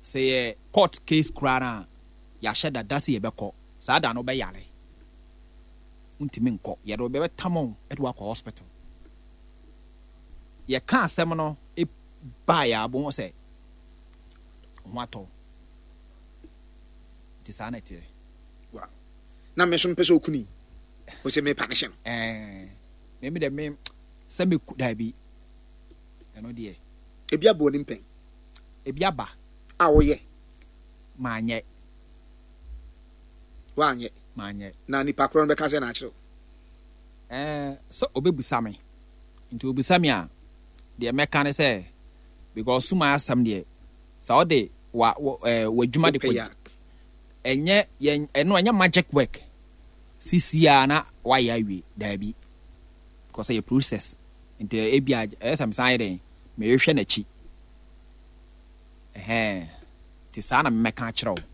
Sɛ yɛ court case koraa no a, yɛahyɛ da da sɛ yɛbɛkɔ. Saa da no wobɛyare. Wontumi nkɔ. Yɛde wo bɛtam wo de wo akɔ hospital. Yɛka asɛm no baeɛ a, wobɛhu sɛ ho atɔ wo. Nti saa na ɛteɛ. Wow. Na me nso mpɛ sɛ okuni. Wo sɛ mepa ne hyɛ no. Ɛɛ, me me dɛ me sɛ meku daabi. Ɛno deɛ. Ebi abɔ w'anim pɛn. Ebi aba. A woyɛ. Manyɛ. Woanyɛ. Manyɛ. Na nipa korɔ no bɛka sɛ na akyerɛ wo. Ɛɛ, sɛ ɔbɛbusa me. Nti ɔbusa me a, deɛ mɛka ne sɛ, because suma asɛm deɛ, sɛ wode wa wɔ ɛɛ w'adwuma de kɔ ɛnyɛ yɛn ɛno ɛnyɛ magic work sisi a na wayɛ awie daabi because ɛyɛ process nti ebi a ɛyɛ sɛ mesan yɛ dɛn mehwehwɛ n'akyi ɛhɛn nti saa na mɛka akyerɛ wo.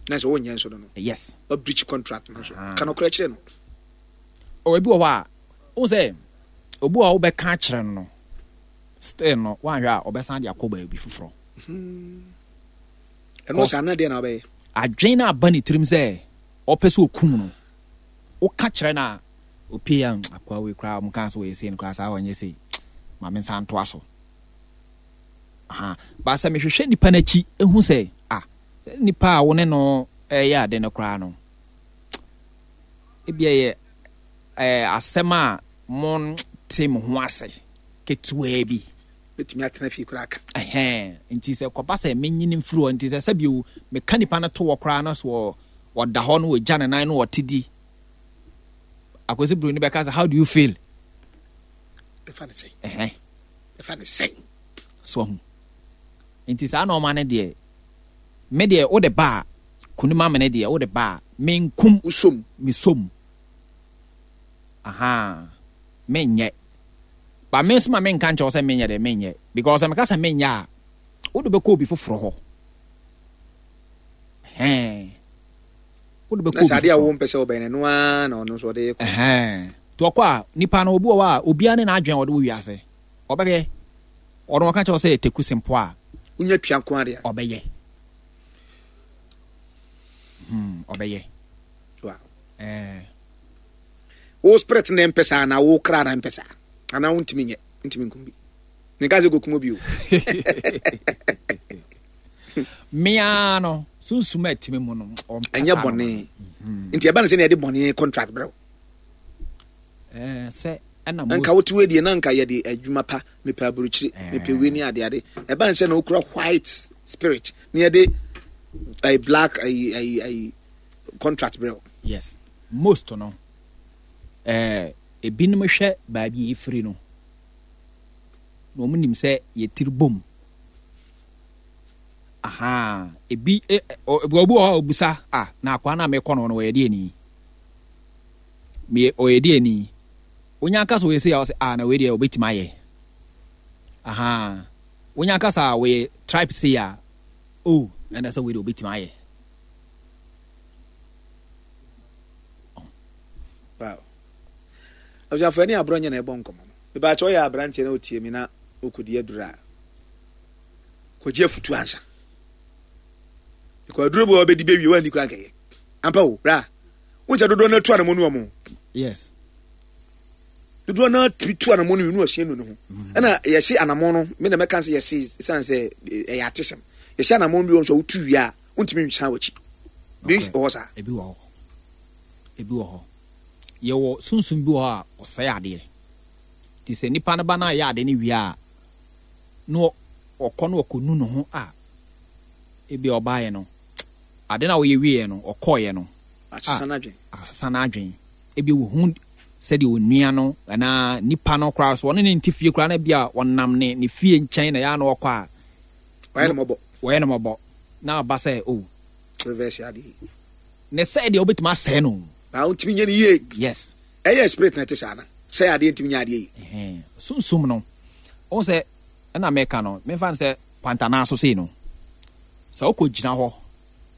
Na sɛ wonyɛ nso no no. Yes. Wa breach contract no so. Ka nokorɛ kyerɛ no. Oh, ebi wɔ hɔ a, wohu sɛ obi wɔ hɔ a wobɛka akyerɛ no no, still no, woanhwɛ a ɔbɛsan de akɔ baabi foforɔ. Ɛno saa na deɛ na wobɛyɛ. Adwene no aba ne tirim sɛ ɔpɛ sɛ ɔkum no, woka kyerɛ no a, opie a akoa wei koraa ɔmo kaa sɛ ɔyɛ sei no koraa saa ɔnyɛ sei, ma me nsa ntoa so. Aha, ba sɛ mehwehwɛ nipa no akyi ehu sɛ ah sɛ nipa a wo ne no ɛyɛ ade no koraa no, ebi ɛyɛ ɛɛ asɛm a monte mo ho ase ketewaa bi. Bɛtumi atena fie koraa aka. Ɛhɛn, nti sɛ kɔba sɛ menyini mfiri hɔ, nti sɛ sɛbi o, meka nipa no to hɔ koraa na so ɔda hɔ na ɔgya ne nan na ɔte di. Akwasi Broni bɛka sɛ, how do you feel? Ɛfa ne sɛn? Ɛhɛn. Ɛfa ne sɛn? So ahu. Nti saa nɔɔma no deɛ, me deɛ wode ba a, kunim amene deɛ wode ba a, menkum. Wosom. Mesom. Ahaa. Menyɛ. Ba me nso ma menka nkyɛw sɛ menyɛ deɛ menyɛ. Because sɛ meka sɛ menyɛ a, wode bɛkɔ obi foforɔ hɔ. Ɛhɛn. Wode bɛkɔ obi foforɔ. Na sɛ adeɛ a wo mpɛ sɛ wobɛyɛ no, ɛno ara na ɔno nso ɔde kɔ. Ɛhɛn. Nti ɔkɔ a, nipa no obi wɔ hɔ a, obiara ne n'adwene a ɔde wɔ wiase. Ɔbɛyɛ. Ɔno ɔka kyerɛ wo sɛ teku sempo a. Wonya tua nko ara deɛ. Ɔbɛyɛ. Hmm, ɔbɛyɛ. Wow. Eh. Wo spirit na mpɛ saa na wo kra na mpɛ saa. Anaa wontumi nyɛ, wontumi nkum bi. Menka sɛ kɔkum obi o. Mea no, sunsum a ɛtumi mu no, ɔmpɛ Ɛnyɛ bɔne. Mhm. Nti ɛba no sɛ na yɛde bɔne contract brɛ wo. Eh, sɛ ɛna mo. Nka wote wei deɛ na nka yɛde adwuma pa, mepɛ aburokyire, eh. mepɛ wei ne ade ade. Ɛba no sɛ na wokura white spirit na yɛde a black ayi ayi ayi contract brɛ wo. Yes, most no, eh, ebinom hwɛ baabi a efiri no, na wɔn nim sɛ yɛtiri bom. Aha, ebi eh, obi wɔ hɔ a obusa, ah, na akwaa no a mekɔ no no wɔyɛ deɛ ni. Meyɛ ɔyɛ deɛ ni. Wonya nka sɛ ɔyɛ sei a ɔsɛ ah na wei deɛ ɔbɛtumi ayɛ. Aha, wonya nka sɛ ɔyɛ tribe sei a, oh, ɛna sɛ wei deɛ ɔbɛtumi ayɛ. Wow. Abusuafo ɛne aborɔ nyɛ na ɛbɔ nkɔmmɔ no. Mebaakyɛ ɔyɛ aberanteɛ na ɔtie mi na ɔkɔdi aduru a kɔgye afutu ansa. Because aduro bi wɔ bɛdi bɛwie wanni koraa nkɛyɛ. Ampa o, bra. Wo sɛ dodoɔ no atu anamɔ nu ɔmo. Yes. Dodoɔ no atumi tu anamɔ no nu ɔhyɛn nu ne ho. Mm. Ɛna yɛsi anamɔ no, me na mɛka sɛ yɛsi san sɛ ɛyɛ atesɛm. Yɛsi anamɔ bi wɔ nso a wotu wie a wontumi nsan w'akyi. Bi wɔ hɔ saa. Ebi wɔ hɔ. Ebi wɔ hɔ. Yɛwɔ sunsum bi wɔ hɔ a ɔsɛe adeɛ. Nti sɛ nipa no ba no ayɛ ade no wie a, na ɔkɔ na ɔkɔnu ne ho a, ebi a ɔbaeɛ no, ade no a ɔyɛ wieɛ no, ɔkɔeɛ no, asesa n'adwene. Asesa n'adwene. Ebi wɔhu sɛdeɛ onua no anaa nipa no koraa so ɔne ne nte fie koraa na ebi a ɔnam ne ne fie nkyɛn na yɛ a na ɔkɔ a. Wɔyɛ no mɔbɔ. Wɔyɛ no mɔbɔ. Na aba sɛ o. Oh. Reverse adeɛ. Ne sɛ deɛ wobɛtumi asɛe no. Na wontumi nyɛ no yie. Yes. Ɛyɛ spirit na ɛte saa na sɛ adeɛ ntumi nyɛ adeɛ yie. Sunsum no, wohu sɛ ɛna meka no, memfa no sɛ kwantanaa so sei no, sɛ wokɔgyina hɔ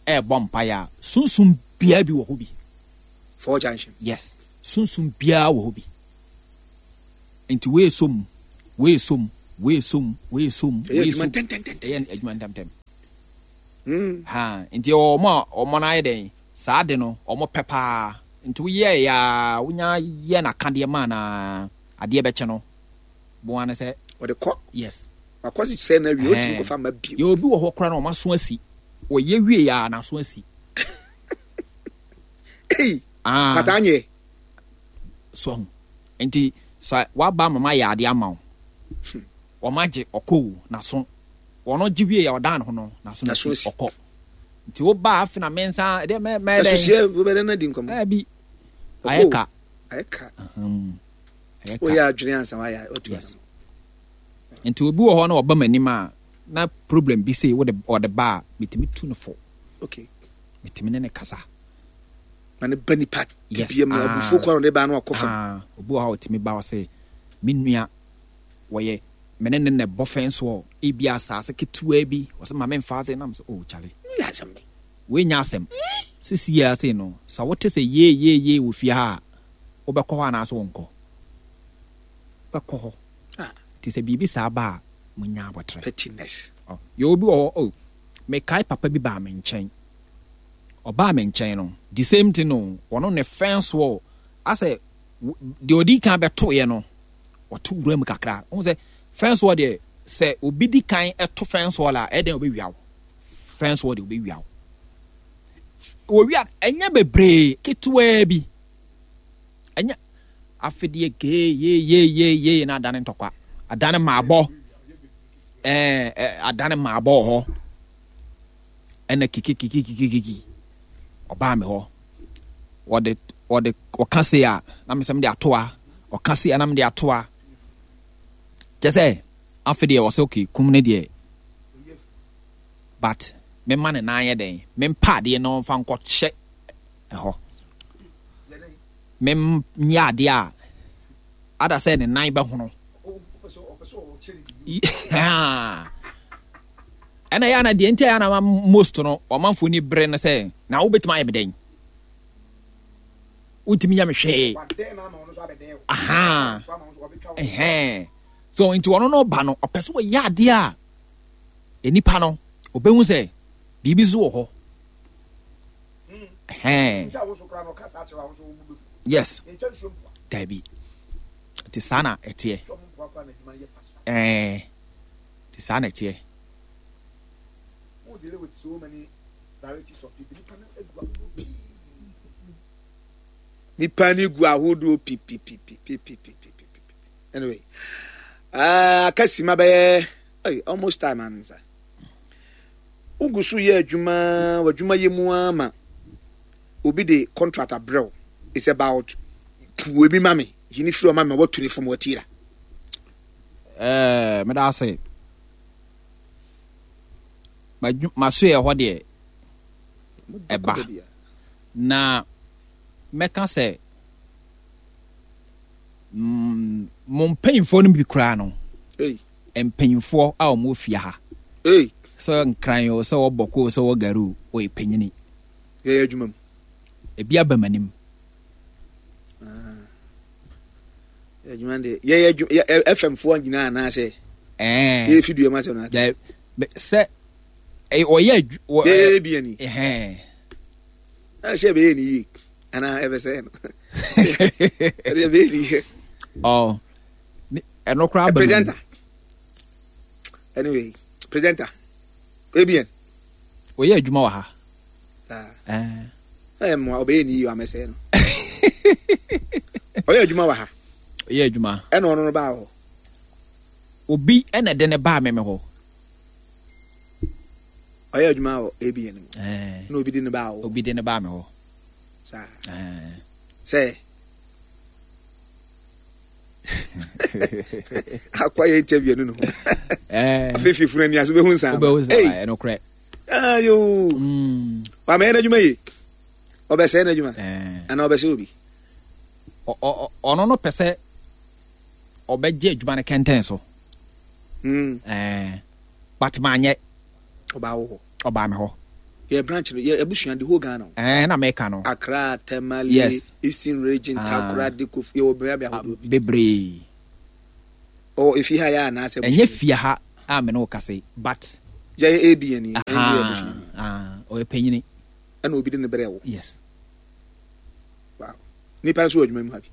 ɛrebɔ mpaeɛ a, sunsum biara bi wɔ hɔ bi. Four junction. Yes, sunsum biara wɔ hɔ bi. Nti wei sɔ mu, wei sɔ mu, wei sɔ mu, wei sɔ mu, wei sɔ mu. Ɛyɛ adwuma ntɛmntɛm. Ɛyɛ adwuma ntɛmntɛm. Ha, nti ɛwɔ wɔn a wɔn no ayɛ dɛn, saa ade no wɔn pɛ paa. Nti woyɛɛ a, wonya yɛ n'akadeɛ maa no a, adeɛ bɛkye no. Boa ne sɛ. Ɔde kɔ. Yes. Wakɔ sɛ na wie, ɔtumi kɔfa ma bio. Yɛ obi wɔ hɔ koraa na wɔn aso asi. Wɔyɛ wie a, n'aso asi. Ei, ah. Pata anyɛ. So ho. Nti sɛ waba ama mayɛ adeɛ ama wo. Wɔn agye ɔkɔ o, n'aso. Wɔn gye wie a ɔdan ne ho no, n'aso na si ɔkɔ. Nti wo ba afe na me nsa ɛdeɛ mɛ mɛ dɛn. Ɛso hyɛ wobɛdɛ na di nkɔmɔ. Ɛbi. Ayɛ ka. Ayɛ ka. Woyɛ adwene ansa wayɛ watu yes. Nti obi wɔ hɔ na ɔba m'anim a na problem bi sei wode ɔde ba a metumi tu no fo. Okay. Metumi ne ne kasa. Na ne ba nipa tibia mu abufuo kwan ɔde ba no akɔ fam. Ah, obi wɔ hɔ a ɔtumi ba ɔse me nua wɔyɛ me ne ne na ɛbɔ fɛn soɔ ebi asaase ketewa bi ɔsɛ ma me nfa ase nam sɛ oh kyale. Yɛ asɛm bɛ. Wei nyɛ asɛm. Sisi yɛ ase no sɛ wote sɛ yee yee yee wɔ fie ha a wobɛkɔ hɔ anaasɛ wonkɔ? Wobɛkɔ hɔ. Nti sɛ biribi saa ba a munya abotrɛ. Pettiness. Oh, yɛ obi wɔ hɔ oh mekae papa bi baa me nkyɛn. Ɔbaa me nkyɛn no the same thing o ɔno ne fɛn soɔ asɛ deɛ ɔdi kan bɛtoeɛ no ɔto wura mu kakra. Wohu sɛ fɛn soɔ deɛ sɛ obi di kan to fɛn soɔ la ɛyɛ dɛn ɔbɛwia wo. Fɛn soɔ deɛ ɔbɛwia wo. Wɔwia ɛnyɛ bebree ketewaa bi. Ɛnyɛ afedeɛ gee yee yee yee yee na adane ntɔkwa. Adane maabɔ. Ɛɛ adane maabɔ wɔ hɔ. Ɛna kikikikikikiki ɔbaa me hɔ. Wɔde wɔde ɔka se a na mesɛ mede atoa ɔka se a na mede atoa. Kyɛ sɛ afe deɛ ɔsɛ okay kum ne deɛ but mema ne nan yɛ dɛn mempa adeɛ na ɔmfa nkɔhyɛ ɛhɔ menyɛ adeɛ a ada sɛ ne nan bɛhono ɛna yɛ ana deɛ nti a yɛ ana most no ɔmanfoɔ ni bere no sɛ na wobɛtumi ayɛ me dɛn wontumi yɛ me hwee aha ɛhɛn so nti ɔno no ba no ɔpɛ sɛ ɔyɛ adeɛ a nipa no ɔbɛhu sɛ biribi so wɔ hɔ ɛhɛn yes daabi nti saa na ɛteɛ ɛɛ nti saa na ɛteɛ. Nipa ni gu ahodoɔ pipipipipipipipi. Anyway, uh, aka sima bɛyɛ hey, almost time ansa. Wogu so yɛ adwuma, w'adwuma yɛ mu ara ma obi de contract abrɛ wo. It's about puo bi ma me, yi ne firi ɔma me, watu ne fam watira. Eh, meda ase. Masoɛ hɔ deɛ ɛba na mɛka sɛ mm, mo mpanyinfoɔ no bi koraa no mpanyinfoɔ a wɔn wɔ fie ha sɛ nkran o sɛ wɔbɔ ko o sɛ wɔ gari o wɔyɛ panyini yɛyɛ adwuma mu ebi aba m'anim ah. adwuma deɛ yɛyɛ adwuma yɛ fm foɔ nyinaa anaasɛ ɛɛ yɛyɛ fidua mu asɛm na sɛ ɔyɛ adwuma yɛyɛ bi ani ɛna sɛ ɛbɛyɛ ne yie anaa ɛbɛsɛe no ɛde ɛbɛyɛ ne yie ɔ ɛno koraa ba presenter anyway presenter abn ɔyɛ adwuma wɔ ha ɛyɛ mmoa ɔbɛyɛ ne yie amɛsɛe no ɔyɛ adwuma wɔ ha ɔyɛ adwuma ɛna ɔno no baa hɔ obi ɛna ɛde ne baa meme hɔ ɔyɛ adwuma wɔ abn mu na obi de ne baa hɔ obi de ne baa me hɔ saa sɛ akɔ yɛ interview no no ho afei fifunu ani ase wobɛhu nsaa wobɛhu nsaa ɛnokorɛ ayo mm. wamɛyɛ n'adwuma ye ɔbɛsɛe n'adwuma anaa ɔbɛsɛ obi ɔno no pɛ sɛ ɔbɛgye adwuma no kɛntɛn so mm. but manyɛ ɔbaa wo hɔ ɔbaa me hɔ yɛ branch no yɛ abusua the whole Ghana ɛɛ na mɛka no Accra Tamale yes. Eastern Region ah. Takoradi Kofi yɛwɔ bea bea ahodoɔ ah, bebree ɔwɔ efi ha yɛ anaasɛ ɛnyɛ fie ha a me ne wo kasa yi but. Yɛyɛ ABN yi. Ɔyɛ panyini. Ɛna obi de ne brɛ wo. Yes. Wow. Nipa nso wɔ adwuma mu ha bi.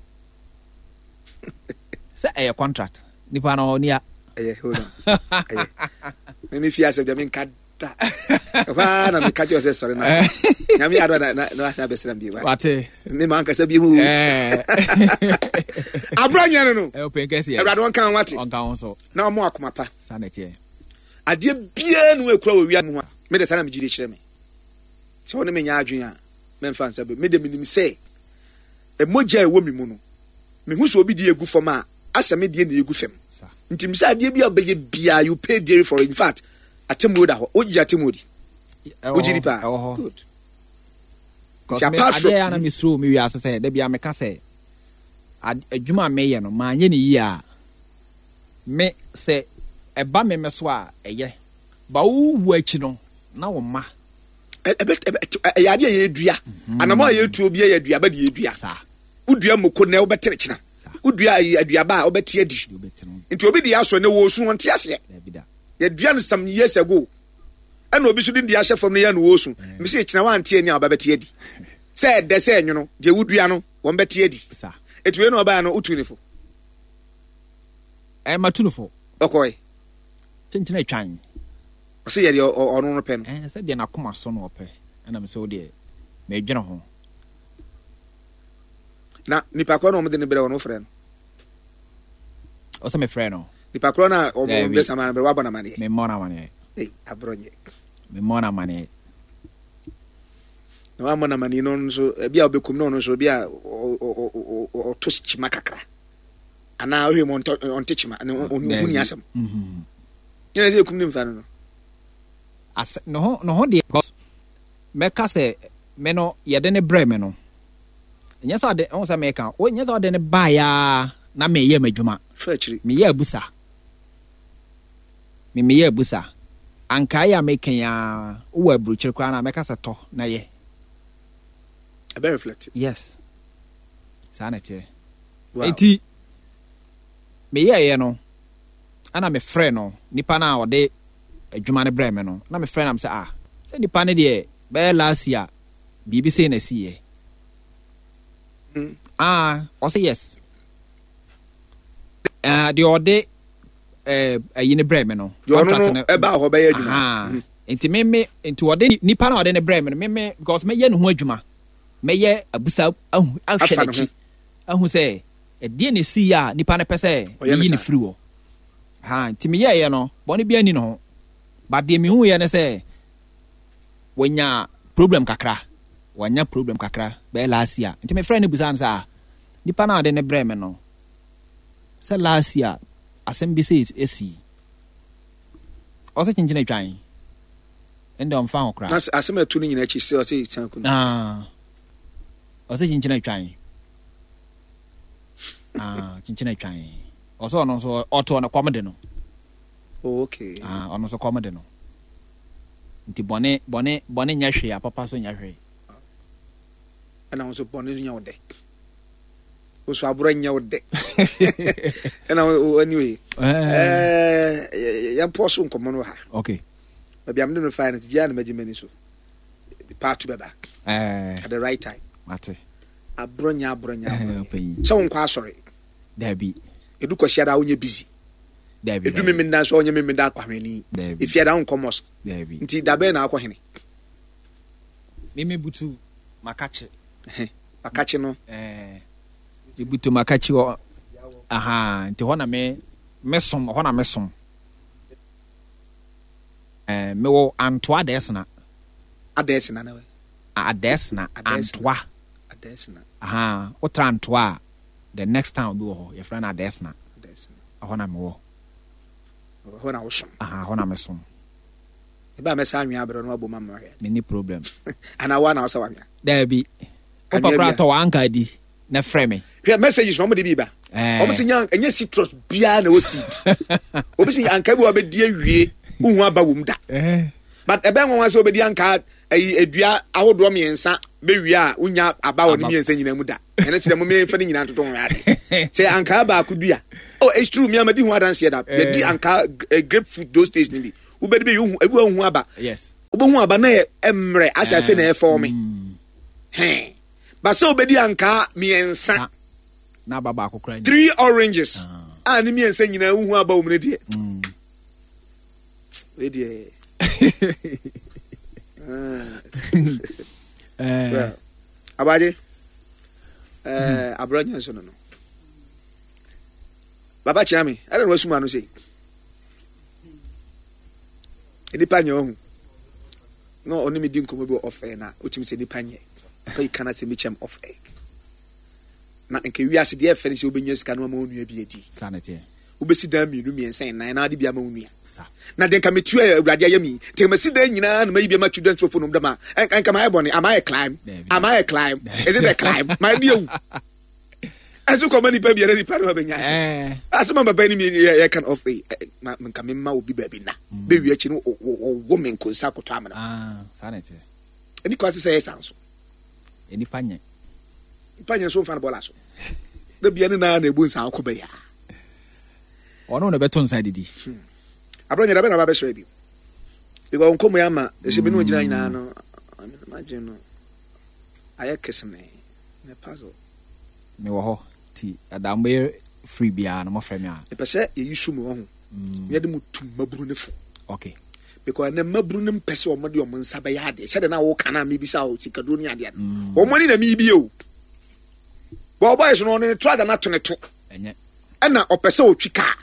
Sɛ ɛyɛ contract. Nipa no ɔni a. Ɛyɛ hold on. Ɛyɛ. Mimi fi asɛm deɛ menka da. Ɛhɔ ara na meka kyerɛ sɛ sɔre na. Nyame adɔ na na na wasan abɛsra mi. Wate. Me ma ankasa bi hu. Abura nyɛ no no. Ɛyɛ ɔpɛn kɛseɛ. Awurade ɔnka ho wate. Ɔnka ho so. Na ɔmo akoma pa. Saa na ɛteɛ. Adeɛ biara nu ekura wɔ wia mu a. Me de saa na me gyidi kyerɛ me. Sɛ wɔne me nyɛ adwene a, mɛmfa nsa bɛ. Me de menim sɛ mogya a ɛwɔ me mu no, mehu sɛ obi deɛ egu fam a, asɛ me deɛ na egu fam. Nti mesɛ adeɛ bi a wobɛyɛ biara, you pay dearly for it. In fact, atemmuo da hɔ. Wogye atemmuo di? Wogye di paa? Good. Nti apart from... Adeɛ a na mesuro me wiase sɛ, da bia meka sɛ, adwuma a meyɛ no, manyɛ no yie a, me sɛ ɛba me me so a, ɛyɛ. Ba wowu akyi no, na wo mma. Ɛyɛ adeɛ a yɛdua. Mhm. Anamɔ a yɛtuo bi yɛ aduaba de yɛdua. Wodua mmoko nnɛ wobɛtere kyena. Wodua aduaba a wobɛte adi. Nti obi de asɔ nnɛ wɔsu ɔnte aseɛ. Yɛdua no some years ago. Ɛna obi so de deɛ ahyɛ fam no yɛ no wɔsu. Mesi kyena wante ani a wɔbɛte adi. Sɛ ɛdɛ sɛ ɛnwono deɛ wodua no wɔn bɛte adi. Ɛti wei na ɔbaa no wotu ne fo. Ɛma tu no fo. Ɔkɔe. Kyenkyena atwan. Ɔsɛ yɛ deɛ ɔno no pɛ no. Ɛɛ sɛ deɛ n'akoma so no ɔpɛ. Ɛna mesɛ wo deɛ medwene ho. Na nipa korɔ na wɔn de ne brɛ wɔn wofrɛ no. Ɔsɛ mefrɛ no. Nipa korɔ na wɔn de sama no brɛ wabɔ n'amaneɛ. Memmɔ n'amaneɛ. Ee aborɔ nyɛ. Memmɔ n'amaneɛ. Na wammɔ n'amaneɛ no nso ebi a ɔbɛkum no ɔno nso ebi a ɔto kyima kakra. Anaa ɔhwɛ mu ɔnte kyima na ɔhu ni asɛm. Yɛn sɛ ekum ne mfa no no. Asɛ ne ho ne ho deɛ mɛka sɛ me no yɛde ne brɛ me no nyɛ sɛ ɔde ɔho sɛ meka o nyɛ sɛ ɔde ne baeɛ a na meyɛ m'adwuma meyɛ abusa me meyɛ abusa ankae a meka yi a wowɔ aburokyire koraa na mɛka sɛ tɔ na yɛ ɛbɛ reflect yes saa na ɛteɛ eti meyɛɛyɛ no ɛna mefrɛ no nipa no a ɔde adwuma no brɛ me no na mefrɛ no sɛ ah sɛ nipa no deɛ bɛyɛ last year biribi sei na ɛsiiɛ mm. ah ɔsɛ yes uh, deɛ ɔde ayi eh, no brɛ me no contract no ɛba hɔ bɛyɛ adwuma mm. nti me me nti ɔde nipa na ɔde ne brɛ me no me me because mɛyɛ ne ho adwuma mɛyɛ abusa ahu ahwɛ n'akyi ahu sɛ ɛdeɛ na esi yɛ a nipa no pɛ sɛ yiyi ne firi wɔ ha nti meyɛɛyɛ no bɔne bi ani ne ho but deɛ mehu yɛ ne sɛ wanya problem kakra wanya problem kakra bɛyɛ last year nti mefrɛ no busa no sɛ ah nipa no a ɔde ne brɛ me no sɛ last year asɛm bi sɛ esi ɔsɛ kyenkyen atwan ɛnde ɔmfa ho koraa asɛm ɛto no nyina akyi sɛ ɔsɛ san kum ah ɔsɛ kyenkyen atwan ah kyenkyen atwan ɔsɛ ɔno nso ɔto ɔno kɔm de no oh, okay ah ɔno nso kɔm de no nti bɔne bɔne bɔne nyɛ hwee apapa so nyɛ hwee ɛna wo nso bɔne nyɛ wo dɛ wo so aborɔ nyɛ wo dɛ ɛna anyway yɛmpɔ so nkɔmmɔ no wɔ ha okay baabi a mede no fae no gyaa na magye m'ani so part bɛba at the right time mate aborɔ nyɛ aborɔ nyɛ aborɔ sɛ wonkɔ asɔre dabi ɛdu kwasiada wonyɛ busy dabi ɛdu memenda nso wonyɛ memenda akɔhwɛni efiada wonkɔ mosque dabi nti dabɛn na akɔ hene Meme butu makakye. Makakye no. Eh, me butu makakye wɔ. Aha, nti hɔ na me me som, hɔ na me som. Eh, me wɔ Antoa Adɛsena. Adɛsena na wɛ. Adɛsena, Antoa. Adɛsena. Aha, wotra Antoa a, the next town bi wɔ hɔ, yɛfrɛ no Adɛsena. Adɛsena. Ɛhɔ na mewɔ. Ɛhɔ na wosom. Aha, hɔ na mesom. Eba a mɛsa anwea abrɛ no abom ama mahwɛ. Menni problem. Anaa woa na wosɛ w'anwea? Daabi. Wopɛ koraa tɔ w'anka di na frɛ me. Hwɛ messages na wɔn de bi ba. Wɔn sɛ nya ɛnyɛ citrus biara na ɛwɔ seed. Obi sɛ anka bi wɔ abɛdi awie wohu aba wɔ mu da. But ɛbɛn nwanwa sɛ obɛdi anka ayi edua ahodoɔ mmiɛnsa bɛwie a wonya aba wɔ ne mmiɛnsa nyinaa mu da. Ɛno kyerɛ mo mmiɛnfa ne nyinaa ntoto ho ade. Sɛ anka baako dua. Oh, it's true. Mi amadi ho adanseɛ da. Yɛdi anka grapefruit those days ni bi. Wobɛdi bi wohu ebi wohu aba. Yes. Wobɛhu aba na yɛ mmerɛ asɛ afei na ɛfɔɔ me. Hɛn. Ba sɛ wobɛdi ankaa mmiɛnsa. Na aba baako koraa. Three oranges. A ne mmiɛnsa nyinaa wohu aba wɔ mu no deɛ. Wei deɛ. Well, abagye. Eh, abrɛ nyɛ nso no no. Baba kyea me. Ɛdɛ na wasum ano sei. Nipa nyɛ ɔhu. Na ɔne me di nkɔmmɔ bi wɔ off air na wotumi sɛ nipa nyɛ. Papa yi ka na sɛ mekyɛm off air. Na nka wiase deɛ ɛfɛ ne sɛ wobɛnya sika no ama wo nua bi adi. Wobɛsi dan mmienu mmiɛnsa nnan na ade bi ama wo nua. Na deɛ nka metua awurade ayɛ mi. Nti masi dan nyinaa na mayi bi ama children trophy nom dɛm a nka mayɛ bɔne. Am I a crime? Am I a crime? Is it a crime? Mayɛ de awu. Ɛso kɔma nipa biara nipa no abɛnya ase. Eh. Asɛm a papa ni mi yɛ kan off eh, eh, nka me mma obi baabi na. Mm. Bɛwie akyi no wɔwɔ me nkonsa akɔtɔ amena. Ah, saa na ɛteɛ. Ɛni kɔ ase sɛ ɛyɛ saa nso. Nipa nyɛ. Nipa nyɛ nso nfa no bɔla so. Na bia ne naa na ebu nsa akɔ bɛyɛ. Ɔno na ɛbɛto nsa didi. Hmm. Abrɛ nyɛ dabɛ na ba bɛsrɛ bi. Because nkɔmɔ yɛ ama ɛsɛ bi ne ogyina nyinaa no madwene no ayɛ keseme ne puzzle. Mewɔ hɔ ti ɛda mo bɛyɛ free biara no mofrɛ me a. Mepɛ sɛ yɛyi so mu ɔho. Mm. Na yɛde mo tu mmabunu no fo. Okay. Because ɛnɛ mmabunu no mpɛ sɛ wɔn de wɔn nsa bɛyɛ adeɛ. Sɛdeɛ na wɔka na mebisa o sikaduro ne adeɛ no. Mm. Wɔn ani na mebie o. Bɔɔ boys no ɔne ne trada no ato ne to. Ɛnyɛ. Ɛna ɔpɛ sɛ ɔtwi kaa.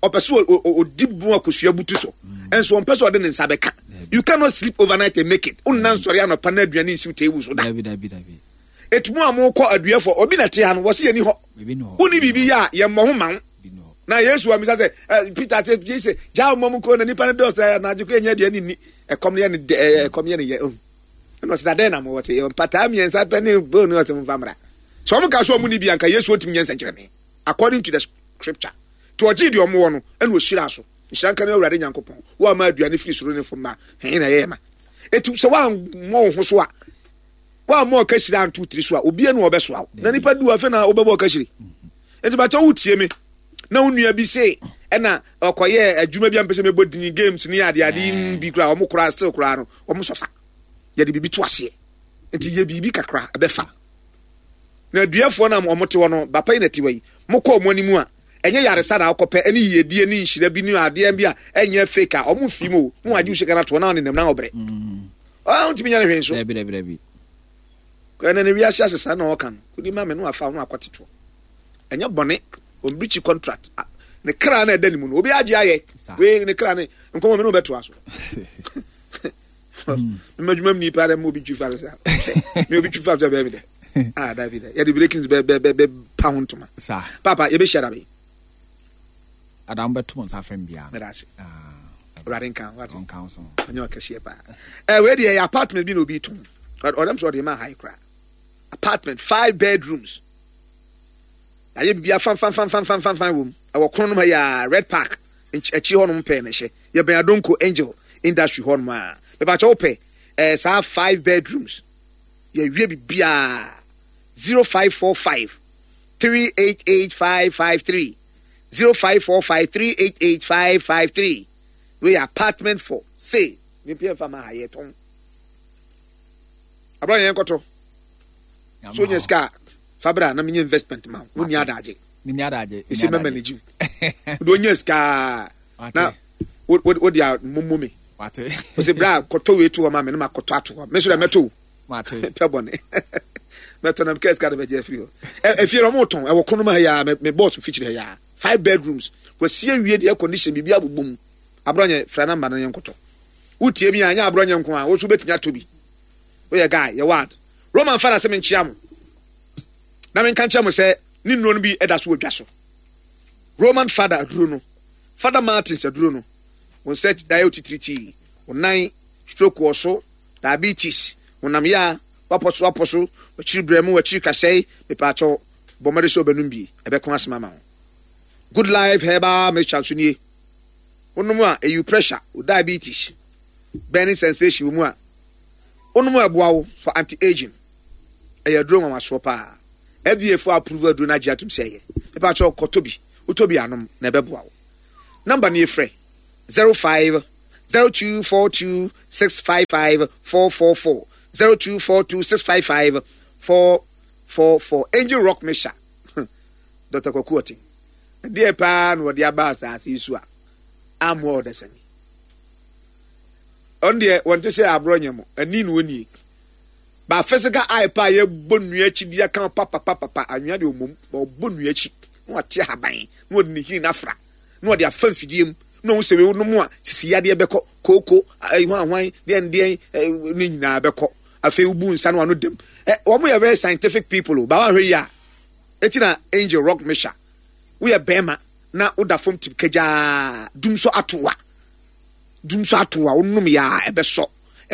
Ɔpɛ sɛ ɔdi mu akosua butu so. Mm. Ɛnso ɔmpɛ sɛ ɔde ne nsa bɛka. You cannot sleep overnight and make it. Wonna nsɔre anɔpa na aduane nsiw table so da. Dabi dabi dabi. Etu mo a mokɔ aduafo obi na te ha no wɔse yɛni hɔ. Wonni biribi yɛ a yɛmmɔ ho ma wo. Na Yesu amisa sɛ eh, Peter sɛ Yesu gyaa wɔn mu kɔ na nipa no dɔɔso na anadwo kɔ yɛnyɛ aduane nni. Ɛkɔm no yɛ ne dɛ ɛkɔm yɛ ne yɛ. Oh. Ɛna ɔsɛ dɛ na mo wɔ sɛ mpataa mmiɛnsa pɛ ne bone ne ɔsɛ mfa mmra. Sɛ wɔn ka so wɔn ni bi anka Yesu ɔntumi nyɛ nsɛnkyerɛnne according to the scripture. Nti ɔgyee deɛ wɔn wɔ no ɛna ɔhyiraa so. Nhyira nka ne Awurade Nyankopɔn wo a ma aduane firi soro ne fam ma hɛn na ɛyɛ ma. Eti sɛ woammɔ wo ho so a woammɔ ɔkahyire anto wo tiri so a obiara nu ɔbɛsoa wo na nipa du afei na wobɛbɔ ɔkahyire nti bàtɛ wotie me na wo nua bi se ɛna ɔkɔyɛ adwuma bi a mpɛ sɛ mebɔ dini games ne ade ade mm. bi koraa wɔn koraa still koraa no wɔn sɔfa yɛde biribi to aseɛ nti yɛ biribi kakra ɛbɛfa na aduafoɔ no a wɔn te hɔ no bapa yi na te hɔ yi mokɔ wɔn anim a ɛnyɛ yaresa na akɔpɛ ɛne yiyedie ne nhyira bi ne adeɛ bi a ɛnyɛ fake a wɔn fi mu o wɔn agye wo sika no atoɔ na wɔn nenam na wɔbrɛ. Mm. Ah, wontumi nyɛ no hwee nso. Dabi, dabi, dabi. Ɛnɛ ne wiase asesa na ɔka no. Kodi ma me no afa ho akɔtetoɔ. Ɛnyɛ bɔne, ɔmbrikyi contract. Ne kra na ɛda ne mu no, obi agye ayɛ. Wei ne kra ne nkɔmmɔ me ne wobɛtoa so. Mma adwuma mu nipa dɛ ma obi twi fa so sa. Me obi twi fa so bɛɛ mi dɛ. Ah, dabi dɛ. Yɛde breaking bɛ bɛ bɛ bɛ pa ho ntoma. Papa, yɛbɛhyia da bɛyi. Adam bɛto mo nsa afrɛ me biara. Meda ase. Ah, Awurade nka ho ate. Ɔnka ho so. Ɔnyɛ ɔkɛseɛ paa. Ɛ wei deɛ ɛyɛ apartment bi na obi tɔn. Ɔdɛm sɛ ɔde ma ha yi koraa. Apartment five bedrooms. Ayɛ biribi afanfanfanfanfanfanfan wɔ mu. Ɛwɔ kono nom ha yi a Red Park akyiri hɔnom pɛɛ na ɛhyɛ. Yɛbɛn Adonko Angel Industry hɔnom a. Mepakyɛ wopɛ ɛɛ saa five bedrooms. Yɛwie biribiara. 0545 388 553. 0545 388 553 wei yɛ apartment for sale ne pia nfa ma ha yɛ tɔn abira yɛn kɔtɔ so nyɛ sika fa bra na menyɛ investment ma wo ni adagye meni adagye ɛsɛ mɛma ne gyiw wode ɔnya sika na wode a momo me ɔsɛ bra kɔtɔ wei to hɔ ma me na makɔtɔ ato hɔ me so dɛ mɛtɔ o pɛ bɔne mɛtɔ na mekɛ sika de bɛgye afiri hɔ efie no ɔmo tɔn ɛwɔ konom ha yaa me bɔs fikyiri ha yaa five bedrooms wɔsi awie de air condition biribi abobɔ mu aborɔnyɛ fra namba no yɛn kɔtɔ wotie mi a nyɛ aborɔnyɛ nko a woso bɛtumi atɔ bi woyɛ guy yɛ ward roman fada sɛ menkyea mo na menka nkyerɛ mo sɛ ne nnuro no bi ɛda so wɔ dwa so roman fada aduro no fada martins aduro no wɔn nsa ayɛ otitiritii wɔn nan stroke wɔ so diabetes, honam ya, wapɔ so apɔ so, wakyiri brɛmo, wakyiri kasɛe, mepaakyɛw, bɔ mmɔden sɛ wobɛnom bi, ɛbɛko asɛm ama wo. Good Life Herbal Mixture nso nie. Wonom a, ɛyi pressure, wo diabetes, burning sensation wɔ mu a, wonom a ɛboa wo for anti-aging. Ɛyɛ aduro nwanwasoɔ paa. FDA fo approve aduro no agye atom sɛ ɛyɛ. Mepaakyɛw, kɔtɔ bi, wotɔ bi anom na ɛbɛboa wo. Number no yɛfrɛ 05. 0242 655 444 0242 655 444 Angel Rock Mixture Dr. Kwaku Ɔten ɛdeɛ paa na wɔde aba asase yi so a ammoa ɔdasani ɔno deɛ wɔnte sɛ aborɔ nyɛ mo ani na ɔnie Ba physical eye paa yɛbɔ nnua akyi de aka papapapapa anwea deɛ ɔmmom ba ɔbɔ nnua akyi na wate ahaban na ɔde ne hini no afra na ɔde afa mfidie mu na ɔhu sɛ wei nom a sisi yadeɛ bɛkɔ kooko hwan hwan deɛn deɛn ne nyinaa bɛkɔ afei wobu nsa no ano dam wɔn yɛ very scientific people o ba wɔahwɛ yi a eti na angel rock mesha woyɛ bɛrima na woda fam tim kagyaa dum so atoa dum so atoa wonom yɛ a ɛbɛsɔ